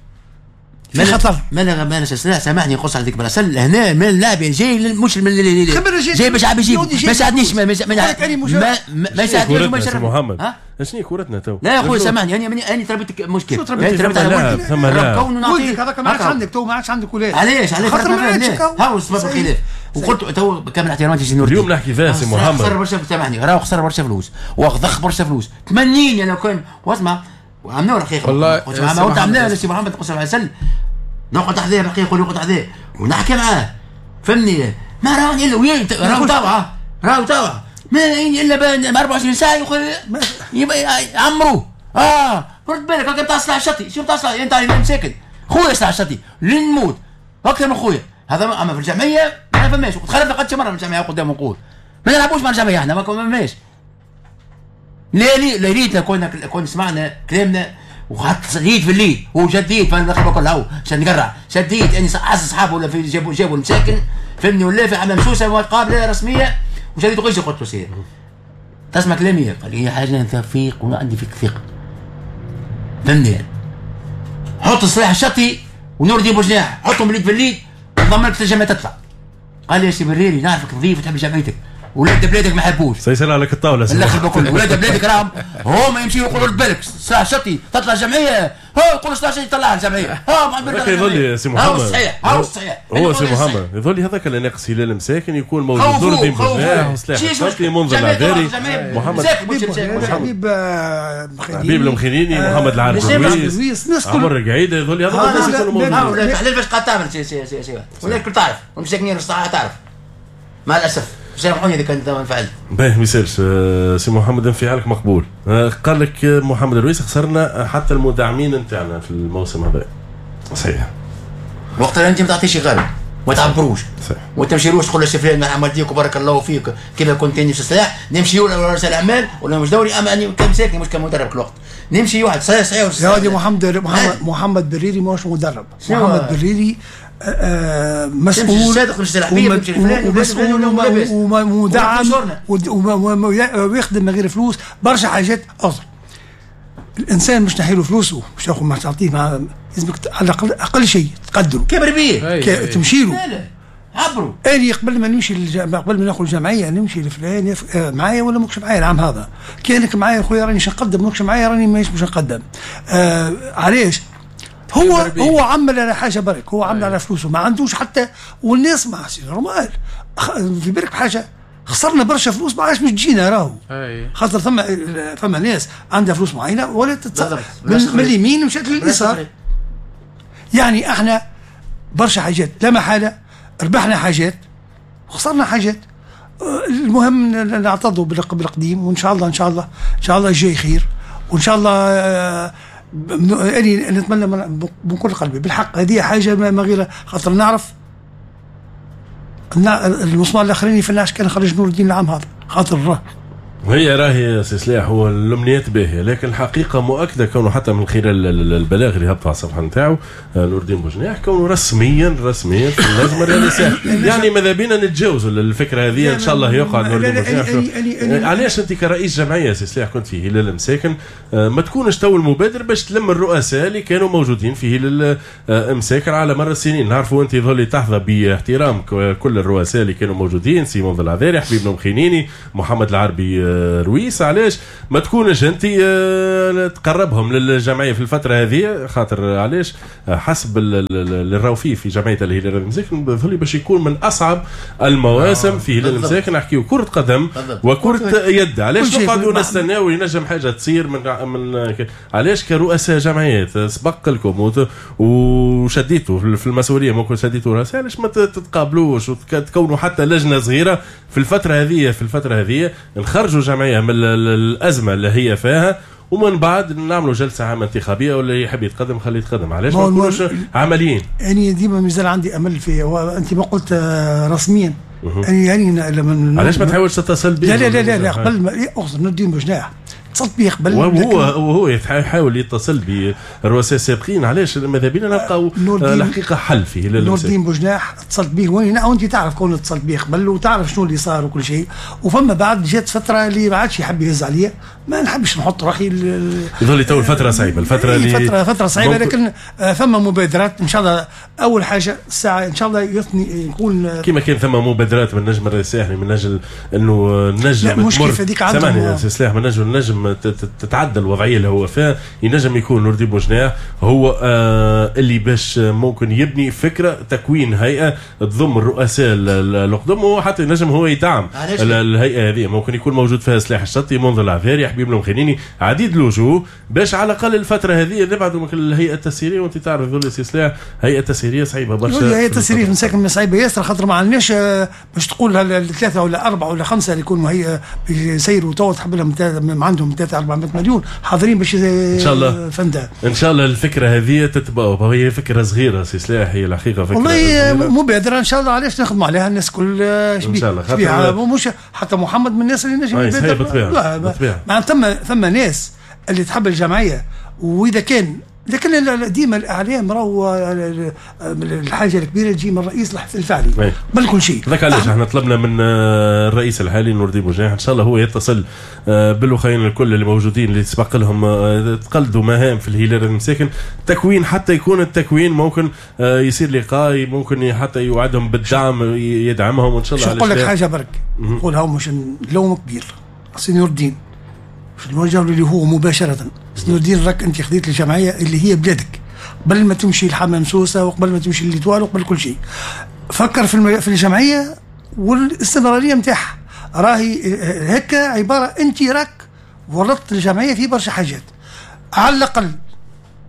في خطر.
ما ما سامحني نقص عليك براسل هنا من اللاعب جاي مش من اللي جاي باش عاد يجيب ما ساعدنيش ما ما ما ساعدنيش
ما محمد. شنو كورتنا تو؟
لا يا خويا سامحني انا انا تربيت مشكل
تربيت على
ولد
ولدك هذاك ما عادش عندك تو، ما عادش عندك ولاد.
علاش علاش خاطر هاو سبب الخلاف. وقلت تو بكامل احتراماتي سي نور
اليوم نحكي فيها سي محمد
خسر برشا سامحني راهو خسر برشا فلوس وضخ برشا فلوس ثمانين انا كان واسمع وعملناه الحقيقة
والله
قلت عملناه سي محمد قصر العسل نقعد حذاه الحقيقة يقول نقعد حذاه ونحكي معاه فهمني ما راني الا وين راهو طاوعه راهو طاوعه ما الا أربعة وعشرين ساعة يعمروه. اه رد بالك هكا تاع صلاح الشطي شو تاع صلاح انت مساكن خويا صلاح الشطي لين نموت اكثر من خويا هذا. اما في الجمعية ما فماش تخلفنا قد مرة من الجمعية قدام نقول ما نلعبوش مع الجمعية احنا ما فماش. لا لي لا ريتنا كنا كنا سمعنا كلامنا وحط ريت في الليل وشديت فانا كل هاو عشان نقرع شديت اني عز اصحابه ولا في جابوا جابوا المساكن فهمني ولا في عمام سوسة مقابله رسمية وشديت غير قلت له سير تسمع كلامي قال لي يا حاجة انت فيق وانا عندي فيك ثقة فهمني. حط السلاح الشطي ونور الدين بوجناح حطهم اليد في اليد ضمن لك الجمعية تطلع. قال لي يا سي بريري نعرفك نظيف وتحب جمعيتك ولاد بلادك ما يحبوش
سيسال عليك الطاولة
الاخر بكل ولاد بلادك راهم هما يمشيوا يقولوا بالك سلاح شطي تطلع جمعية هو يقولوا سلاح شطي طلع الجمعية ها
ما يظل يا سي محمد
هو صحيح هو صحيح
هو سي محمد يظل هذاك اللي ناقص هلال مساكن يكون موجود نور الدين بوجناح وسلاح شطي منذر العذاري محمد
حبيب
حبيب المخيليني محمد العارف الرويس عمر القعيده يظل هذا الناس يكونوا موجودين.
تحليل باش قاعد تعمل سي سي سي سي ولا الكل تعرف ومساكنين الصحة تعرف مع الاسف. سامحوني اذا كنت انفعلت.
باهي ما يسالش سي محمد انفعالك مقبول. قال لك محمد الرويس خسرنا حتى المدعمين نتاعنا في الموسم هذا. صحيح.
وقت اللي انت ما تعطيش غالب ما تعبروش
صحيح.
وتمشيروش تقول له فلان مع والديك وبارك الله فيك كيما كنت اني في السلاح نمشي ولا رئيس الاعمال ولا مش دوري اما اني كمساكني مش كمدرب كل وقت نمشي واحد صحيح صحيح.
يا ولدي محمد محمد, محمد بريري ماهوش مدرب. محمد بريري مسؤول ومسؤول ومدعم ويخدم من غير فلوس برشا حاجات. أصلا الانسان مش نحيله فلوسه مش ياخذ ما تعطيه مع لازمك على الاقل اقل شيء تقدره
كبر بيه
تمشي له
عبروا.
اني قبل ما نمشي للج... قبل ما ناخذ الجمعية نمشي لفلان يف... معايا ولا ماكش معايا العام هذا كانك معايا خويا راني مش نقدم ماكش معايا راني مانيش باش نقدم. آه علاش هو هو عمل على حاجة برك هو عمل على فلوسه ما عندوش حتى والناس ما c'est normal في بالك بحاجة خسرنا برشا فلوس ما عادش مش تجينا راهو خاطر ثم ثم ناس عندها فلوس معينة ولا تتص... من, من اليمين مشات لليسار. يعني احنا برشا حاجات لا محالة ربحنا حاجات وخسرنا حاجات. المهم نعتضوا بالقديم وان شاء الله ان شاء الله ان شاء الله الجاي خير وان شاء الله أنا نتمنى من كل قلبي بالحق هذه حاجة ما غير خاطر نعرف المسمار الاخراني في النعش كان خرج نور الدين العام هذا خاطر راه
هي راهي سي سلاح هو الامنيات باهيه، لكن الحقيقة مؤكدة كونه حتى من خلال البلاغ اللي هبط على الصفحة نتاعو نور الدين بوجناح كونه رسميا رسميا في اللجنة الرئاسية، يعني ماذا بينا نتجاوزوا الفكرة هذه ان شاء الله يقعد نور الدين بوجناح. علاش انت كرئيس جمعية سي سلاح كنت في هلال مساكن ما تكونش تو المبادر باش تلم الرؤساء اللي كانوا موجودين في هلال مساكن على مر السنين؟ نعرفوا انت ظل تحظى باحترام كل الرؤساء اللي كانوا موجودين، سيمون العذاري، حبيب المخينيني، محمد العربي رويس، علاش ما تكونش انت تقربهم للجمعية في الفترة هذه؟ خاطر علاش حسب اللي راهو فيه في جمعية الهلال المساكن ظل باش يكون من اصعب المواسم آه. في هلال المساكن نحكيو كره قدم وكره يد، علاش نقعدوا نستناو ينجم حاجة تصير من من علاش كرؤساء جمعيات سبق لكم وشديتوا في المسؤولية ممكن شديتوا رؤساء، علاش ما تتقابلوش وتكونوا حتى لجنة صغيرة في الفترة هذه في الفترة هذه نخرجوا جمعية من الازمة اللي هي فيها ومن بعد نعملوا جلسه عامة انتخابية واللي يحب يتقدم خليه يتقدم. علاش ما نكونوش عمليين؟ يعني
ديما مازال عندي امل في انت ما قلت رسميا يعني يعني لما
علاش ما تحاولش تتصل به؟
لا لا لا لا, لا قبل ما اقصد نور الدين بوجناح اتصلت به قبل،
وهو وهو يحاول يتصل بالرؤساء السابقين. علاش ماذا بينا نلقاو الحقيقة حل فيه؟
نور الدين بوجناح اتصلت به وين وانت تعرف كون اتصلت به قبل وتعرف شنو اللي صار وكل شيء، وفما بعد جات فترة اللي ما عادش يحب يهز عليا، ما نحبش نحط روحي
يظل تو الفترة صعيبة، الفترة اللي
فترة فترة صعيبة، لكن ثم مبادرات ان شاء الله. اول حاجة الساعة ان شاء الله يثني يكون
كما كان ثم مبادرات من نجم الساحلي من اجل انه نجم
مش كيف هذيك
عندهم سلاح من اجل نجم تتعدل الوضعية اللي هو فيها، ينجم يكون نور الدين بوجناح هو آه اللي باش ممكن يبني فكرة تكوين هيئة تضم الرؤساء القدم، وحتى ينجم هو يدعم الهيئة هذه، ممكن يكون موجود فيها سلاح الشطي، منذر العذاري، حبيب المخينيني، عديد الوجوه باش على الاقل الفترة هذه نبعدوا من الهيئة التسييريه. وانت تعرف ذول سلاح هيئة تسييريه صعيبة برشا،
الهيئة التسييريه مساكن صعيبة ياسر، خاطر ما عندناش باش تقول الثلاثة ولا اربعة ولا خمسة اللي يكونوا هي يسيروا تو تحب لهم عندهم ثلاثة أربعمائة مليون حاضرين باش
ان شاء الله
فندا.
ان شاء الله الفكرة هذه تتبقى، هي فكرة صغيرة سي سلاح، هي الحقيقة فكرة
والله مبادرة ان شاء الله، علاش نخدموا عليها الناس كل
ان شاء الله،
مش حتى محمد من الناس اللي نجم يبادر. مع ثم ثم ناس اللي تحب الجمعية، واذا كان لكن ديما الاعلام راهو الحاجة الكبيرة تجي من الرئيس الفعلي قبل كل شيء.
ذاك علاش احنا طلبنا من الرئيس الحالي نور الدين بوجناح ان شاء الله هو يتصل بالاخرين الكل اللي موجودين اللي سبق لهم تقلدوا مهام في الهلال المساكن تكوين، حتى يكون التكوين ممكن يصير لقاء، ممكن حتى يوعدهم بالدعم يدعمهم وان شاء الله.
نقول لك حاجة برك نقولها مش لوم كبير سي نور الدين، مش نوجه اللي هو مباشرة. نور الدين راك انت خديت الجمعية اللي هي بلادك قبل ما تمشي لحمام سوسة وقبل ما تمشي لل Étoile وقبل كل شيء، فكر في المج... في الجمعية والاستمرارية نتاعها. راهي هكا عبارة انت راك ورطت الجمعية في برشا حاجات. على الاقل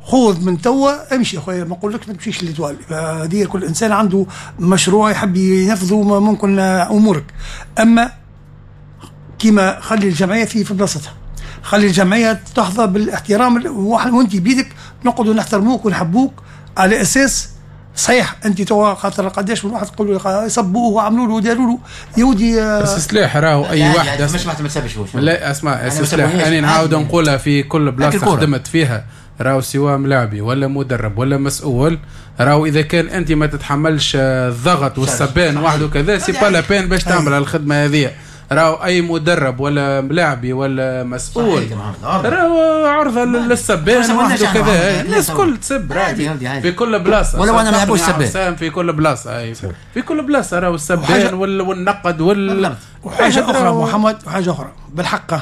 خذ من توا امشي اخويا، ما نقولكش ما تمشيش لل Étoile، هذه كل انسان عنده مشروع يحب ينفذه ممكن امورك، اما كيما خلي الجمعية في في بلاصتها، خلي الجمعية تحظى بالاحترام، وانت بيدك نقعدوا نحترموك ونحبوك على اساس صحيح. انت توا خاطر قداش من واحد تقول له صبوه وعملوا له وداروا له يا ودي.
بس سلاح راهو اي واحد
مش واحد ما تسبش.
لا اسمع سلاح، انا نعاود نقولها في كل بلاصة خدمت فيها، راهو سواء ملاعبي ولا مدرب ولا مسؤول، راهو اذا كان انت ما تتحملش الضغط والسبان وحده كذا c'est pas la peine باش تعمل الخدمة هذه. راهو اي مدرب ولا ملاعبي ولا مسؤول راهو عرضه للسبان وحده كذا، الناس كل تسب في كل بلاصة،
ولا انا ما نحبوش السبان
في كل بلاصة، في كل بلاصة راهو السبان والنقد وال
وحاجه اخرى محمد، وحاجه اخرى بالحق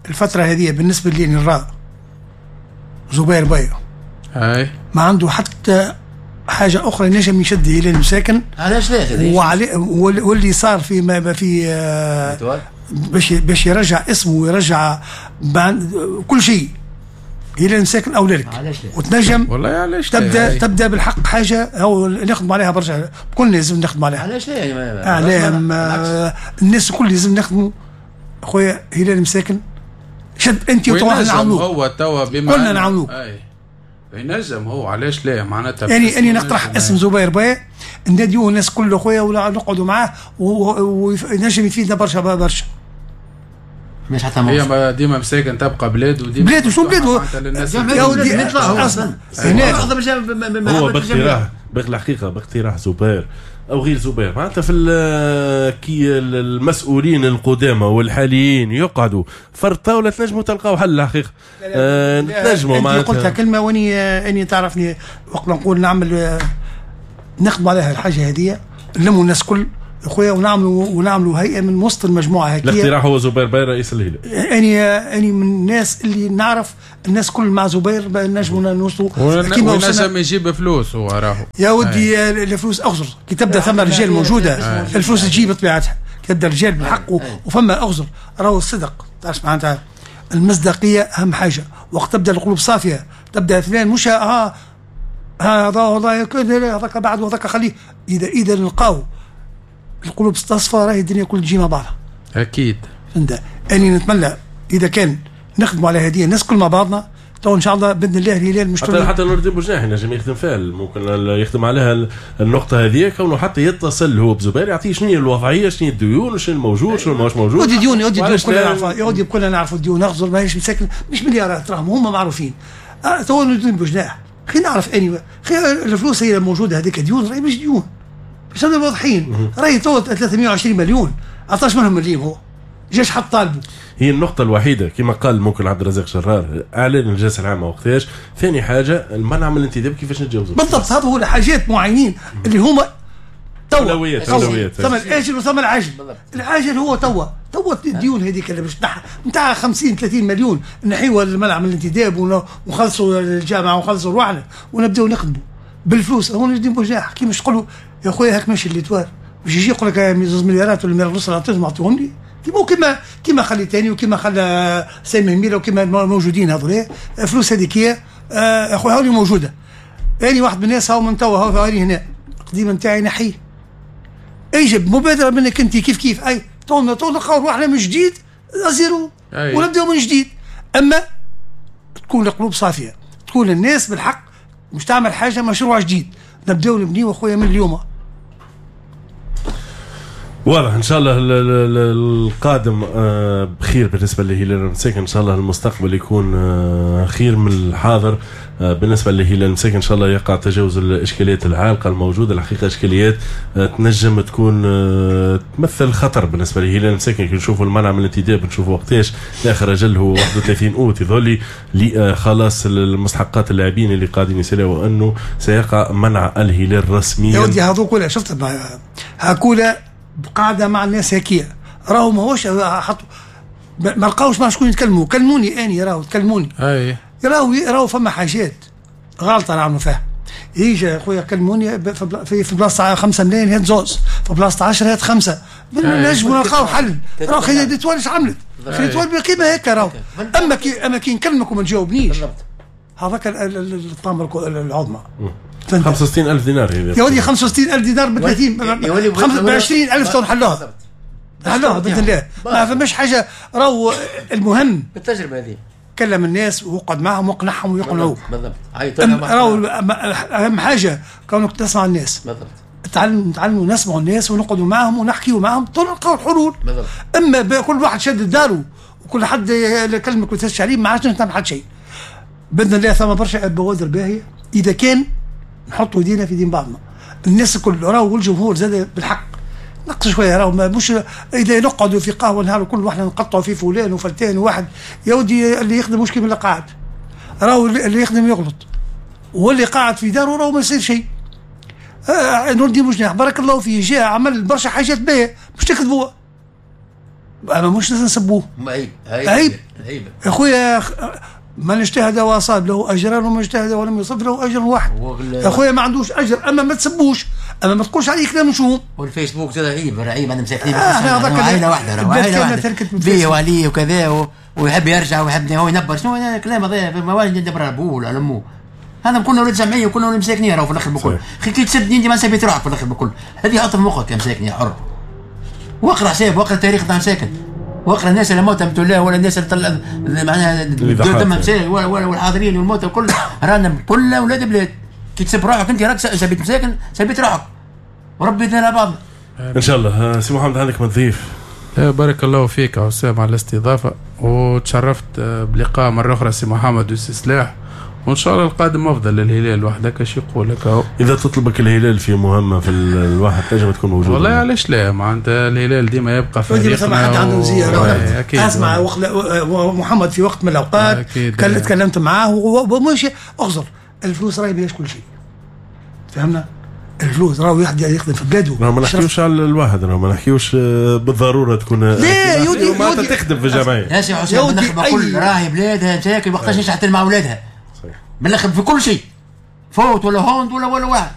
الفترة هذه بالنسبة لي نرى زبير بيا
اي
ما عنده حتى حاجة اخرى نجم يشد الى المساكن.
علاش لا؟
وعلي واللي صار في ما في باش باش يرجع اسمه ويرجع كل شيء الى المساكن او ذلك، وتنجم
والله علاش
تبدا تبدا بالحق حاجة او نخدم عليها برشا، كل لازم نخدم عليها.
علاش لا؟
اعلام الناس الكل لازم نخدموا خويا. هلال المساكن شد انت وتوا نعاونوك.
هو توا بما
كلنا نعاونوك.
ينجم هو، علاش لا معناتها.
يعني اني نقترح اسم زبير باي نديوه الناس كل خويا ولا نقعدوا معاه ونجم يفيدنا برشا برشا.
مش حتى
هي ديما مساكن تبقى بلاد وديما
بلاد وشو بلاد
يا
ودي اصلا
هو باقتراح بالحقيقة باقتراح زبير او غير زبير معناتها في كي المسؤولين القدامى والحاليين يقعدوا فرد طاولة تنجموا تلقاو حل الحقيقة. أه تنجموا
معناتها. انت قلتها كلمة واني اني تعرفني وقت نقول نعمل نخدم عليها الحاجة هذه، نلموا الناس كل خويا ونعملوا ونعملوا هيئة من وسط المجموعة هكي.
الاقتراح هو زبير باي رئيس الهلال.
اني اني من الناس اللي نعرف الناس كل مع زبير نجموا نوصلوا
كيما ونجم يجيب فلوس هو راهو
يا ودي. الفلوس اغزر كي تبدا ثم رجال موجودة الفلوس تجي بطبيعتها، كي تبدا رجال بالحق وفما اغزر راهو الصدق تعرف معناتها المصداقية اهم حاجة. وقت تبدا القلوب صافية تبدا فلان مش اه هذا والله هذاك بعد وهذاك خليه، اذا اذا نلقاو القلوب تصفى راهي الدنيا كل تجي مع بعضها.
اكيد.
فهمت؟ اني نتمنى اذا كان نخدموا على هذه الناس كل مع بعضنا تو ان شاء الله باذن الله الهلال مش
حتى حتى نور الدين بوجناح ينجم يخدم فيها، ممكن يخدم عليها النقطة هذه كونه حتى يتصل هو بزبير يعطيه شنو هي الوضعية، شنو هي الديون، شنو الموجود، شنو ماهوش موجود.
ودي ديون ودي ديون كلنا نعرفوا، يا ودي كلنا نعرفوا الديون نغزر ماهيش مساكن مش مليارات راهم هما معروفين. تو نور الدين بوجناح خلينا نعرف اني الفلوس هي الموجودة هذيك ديون راهي مش ديون باش نبقوا واضحين، راهي تو ثلاثمية وعشرين مليون عطاش منهم مليم هو جاش حط طالبه.
هي النقطة الوحيدة كما قال ممكن عبد الرزاق شرار اعلان الجلسة العامة وقتاش. ثاني حاجة المنع من الانتداب كيفاش نتجاوزوا
بالضبط. هذا هو الحاجات معينين اللي هما توا
اولويات اولويات
ثم الاجل وثم العجل. العاجل هو توا توا الديون هذيك اللي باش تنحى نتاع خمسين ثلاثين مليون نحيوها المنع من الانتداب ونخلصوا الجامعة ونخلصوا رواحنا ونبداو نخدموا بالفلوس. هو نجدين بوجناح كي مش تقولوا يا خويا هاك ماشي l'Étoile باش يجي يقول لك زوج مليارات ولا مليار ونص عطيتهم عطيهم لي كيما كيما كيما خليتاني وكيما خلى سامي ميلا وكيما موجودين هذول الفلوس هذيك هي يا خويا هاولي موجودة. يعني واحد من الناس هاو من توا هاو هاني هنا القديم نتاعي نحيه يجب مبادرة منك انت كيف كيف اي تو تو نلقاو روحنا من جديد zéro ونبداو من جديد. اما تكون القلوب صافية، تكون الناس بالحق مش تعمل حاجة مشروع جديد نبداو نبنيو اخويا من اليوم.
واضح ان شاء الله القادم بخير بالنسبة لهلال المساكن، ان شاء الله المستقبل يكون خير من الحاضر بالنسبة لهلال المساكن. ان شاء الله يقع تجاوز الاشكاليات العالقة الموجودة. الحقيقة اشكاليات تنجم تكون تمثل خطر بالنسبة لهلال المساكن. كي نشوفوا المنع من الانتداب نشوفوا وقتاش اخر اجل هو واحد وثلاثين اوت يظل لخلاص المستحقات اللاعبين اللي قاعدين يسالوا انه سيقع منع الهلال رسميا.
يا ودي هذوك شفت هاكولا قاعدة مع الناس هكية راهو ماهوش حطوا ما لقاوش مع شكون يتكلموا. كلموني اني راهو تكلموني
اي
راهو راهو فما حاجات غلطه نعملوا فيها. يجي خويا كلموني في بلاصة خمسة ملايين هات زوز، في بلاصة عشرة هات خمسة، نجموا نلقاو حل. راهو خلي l'Étoile اش عملت؟ خلي l'Étoile بقيمة هكا راهو. اما كي اما كي نكلمك وما تجاوبنيش هذاك الطامة العظمى.
خمسة وستين ألف دينار
يا ولدي، خمسة وستين ألف دينار ب ثلاثين ب عشرين ألف تو نحلوها نحلوها باذن الله. ما فماش حاجة راهو المهم
بالتجربة هذه
كلم الناس وقعد معهم واقنعهم ويقنعوك.
بالضبط.
راهو اهم حاجة كونك تسمع الناس.
بالضبط.
تعلم نتعلموا نسمعوا الناس ونقعدوا معهم ونحكيوا معهم تو نلقاو الحلول.
بالضبط.
اما كل واحد شد داره وكل حد يكلمك وتسش عليه ما عادش نعمل حد شيء. باذن الله ثم برشا بوادر باهيه اذا كان نحطوا يدينا في دين بعضنا. الناس الكل راهو والجمهور زاد بالحق نقص شوية راهو مش اذا نقعدوا في قهوة نهار كل واحنا نقطعوا في فلان وفلتان وواحد. يا ودي اللي يخدم مش كيما اللي قاعد، راهو اللي يخدم يغلط واللي قاعد في داره راهو ما يصير شيء. آه نور الدين بوجناح بارك الله فيه جاء عمل برشا حاجات باهيه مش تكذبوها، اما مش نسبوه.
عيب
عيب
عيب
يا خويا. من اجتهد واصاب له اجران ومن اجتهد ولم يصب له اجر واحد. يا خويا ما عندوش اجر اما ما تسبوش، اما ما تقولش عليه كلام نشوم.
والفيسبوك زاد عيب عيب انا مساكنين
آه
عائلة واحدة عائلة واحدة بيه وعليه وكذا و... ويحب يرجع ويحب هو ينبر شنو الكلام هذا ما والد يدبر ابوه ولا امه. هذا كلنا ولاد جمعية وكلنا ولاد مساكنين راهو في الاخر بكل. خي كي تسبني انت ما سبيت روحك في الاخر بكل. هذه حط في مخك يا مساكن يا حر. واقرا حساب واقرا التاريخ تاع مساكن. واقرا الناس اللي موتى الله ولا الناس اللي طلع معناها دمهم سائل ولا ولا والحاضرين والموتى الكل، رانا كلنا اولاد بلاد. كي تسب روحك انت راك سبيت مساكن، سبيت روحك وربي يدينا بعضنا
ان شاء الله. سي محمد عندك ما تضيف؟
بارك الله فيك عسام على الاستضافة، وتشرفت بلقاء مرة اخرى سي محمد وسي سلاح، وان شاء الله القادم افضل للهلال. وحدك اش يقول لك اهو،
اذا تطلبك الهلال في مهمة في الواحد تنجم تكون موجود.
والله علاش لا، معناتها الهلال ديما يبقى فريقنا.
ما حد عنده زيارة. اسمع وقت محمد في وقت من الاوقات تكلمت معاه ومش اغزر الفلوس راهي بلاش كل شيء، فهمنا؟ الفلوس راهو واحد يخدم في بلاده.
ما نحكيوش على الواحد، ما نحكيوش بالضرورة تكون
لا يودي
معناتها تخدم في الجمعية.
يا سي حسين بالنخبه كل راهي بلادها مساكن وقتاش نشحت مع اولادها. صحيح بالنخب في كل شيء، فوت ولا هوند ولا ولا واحد.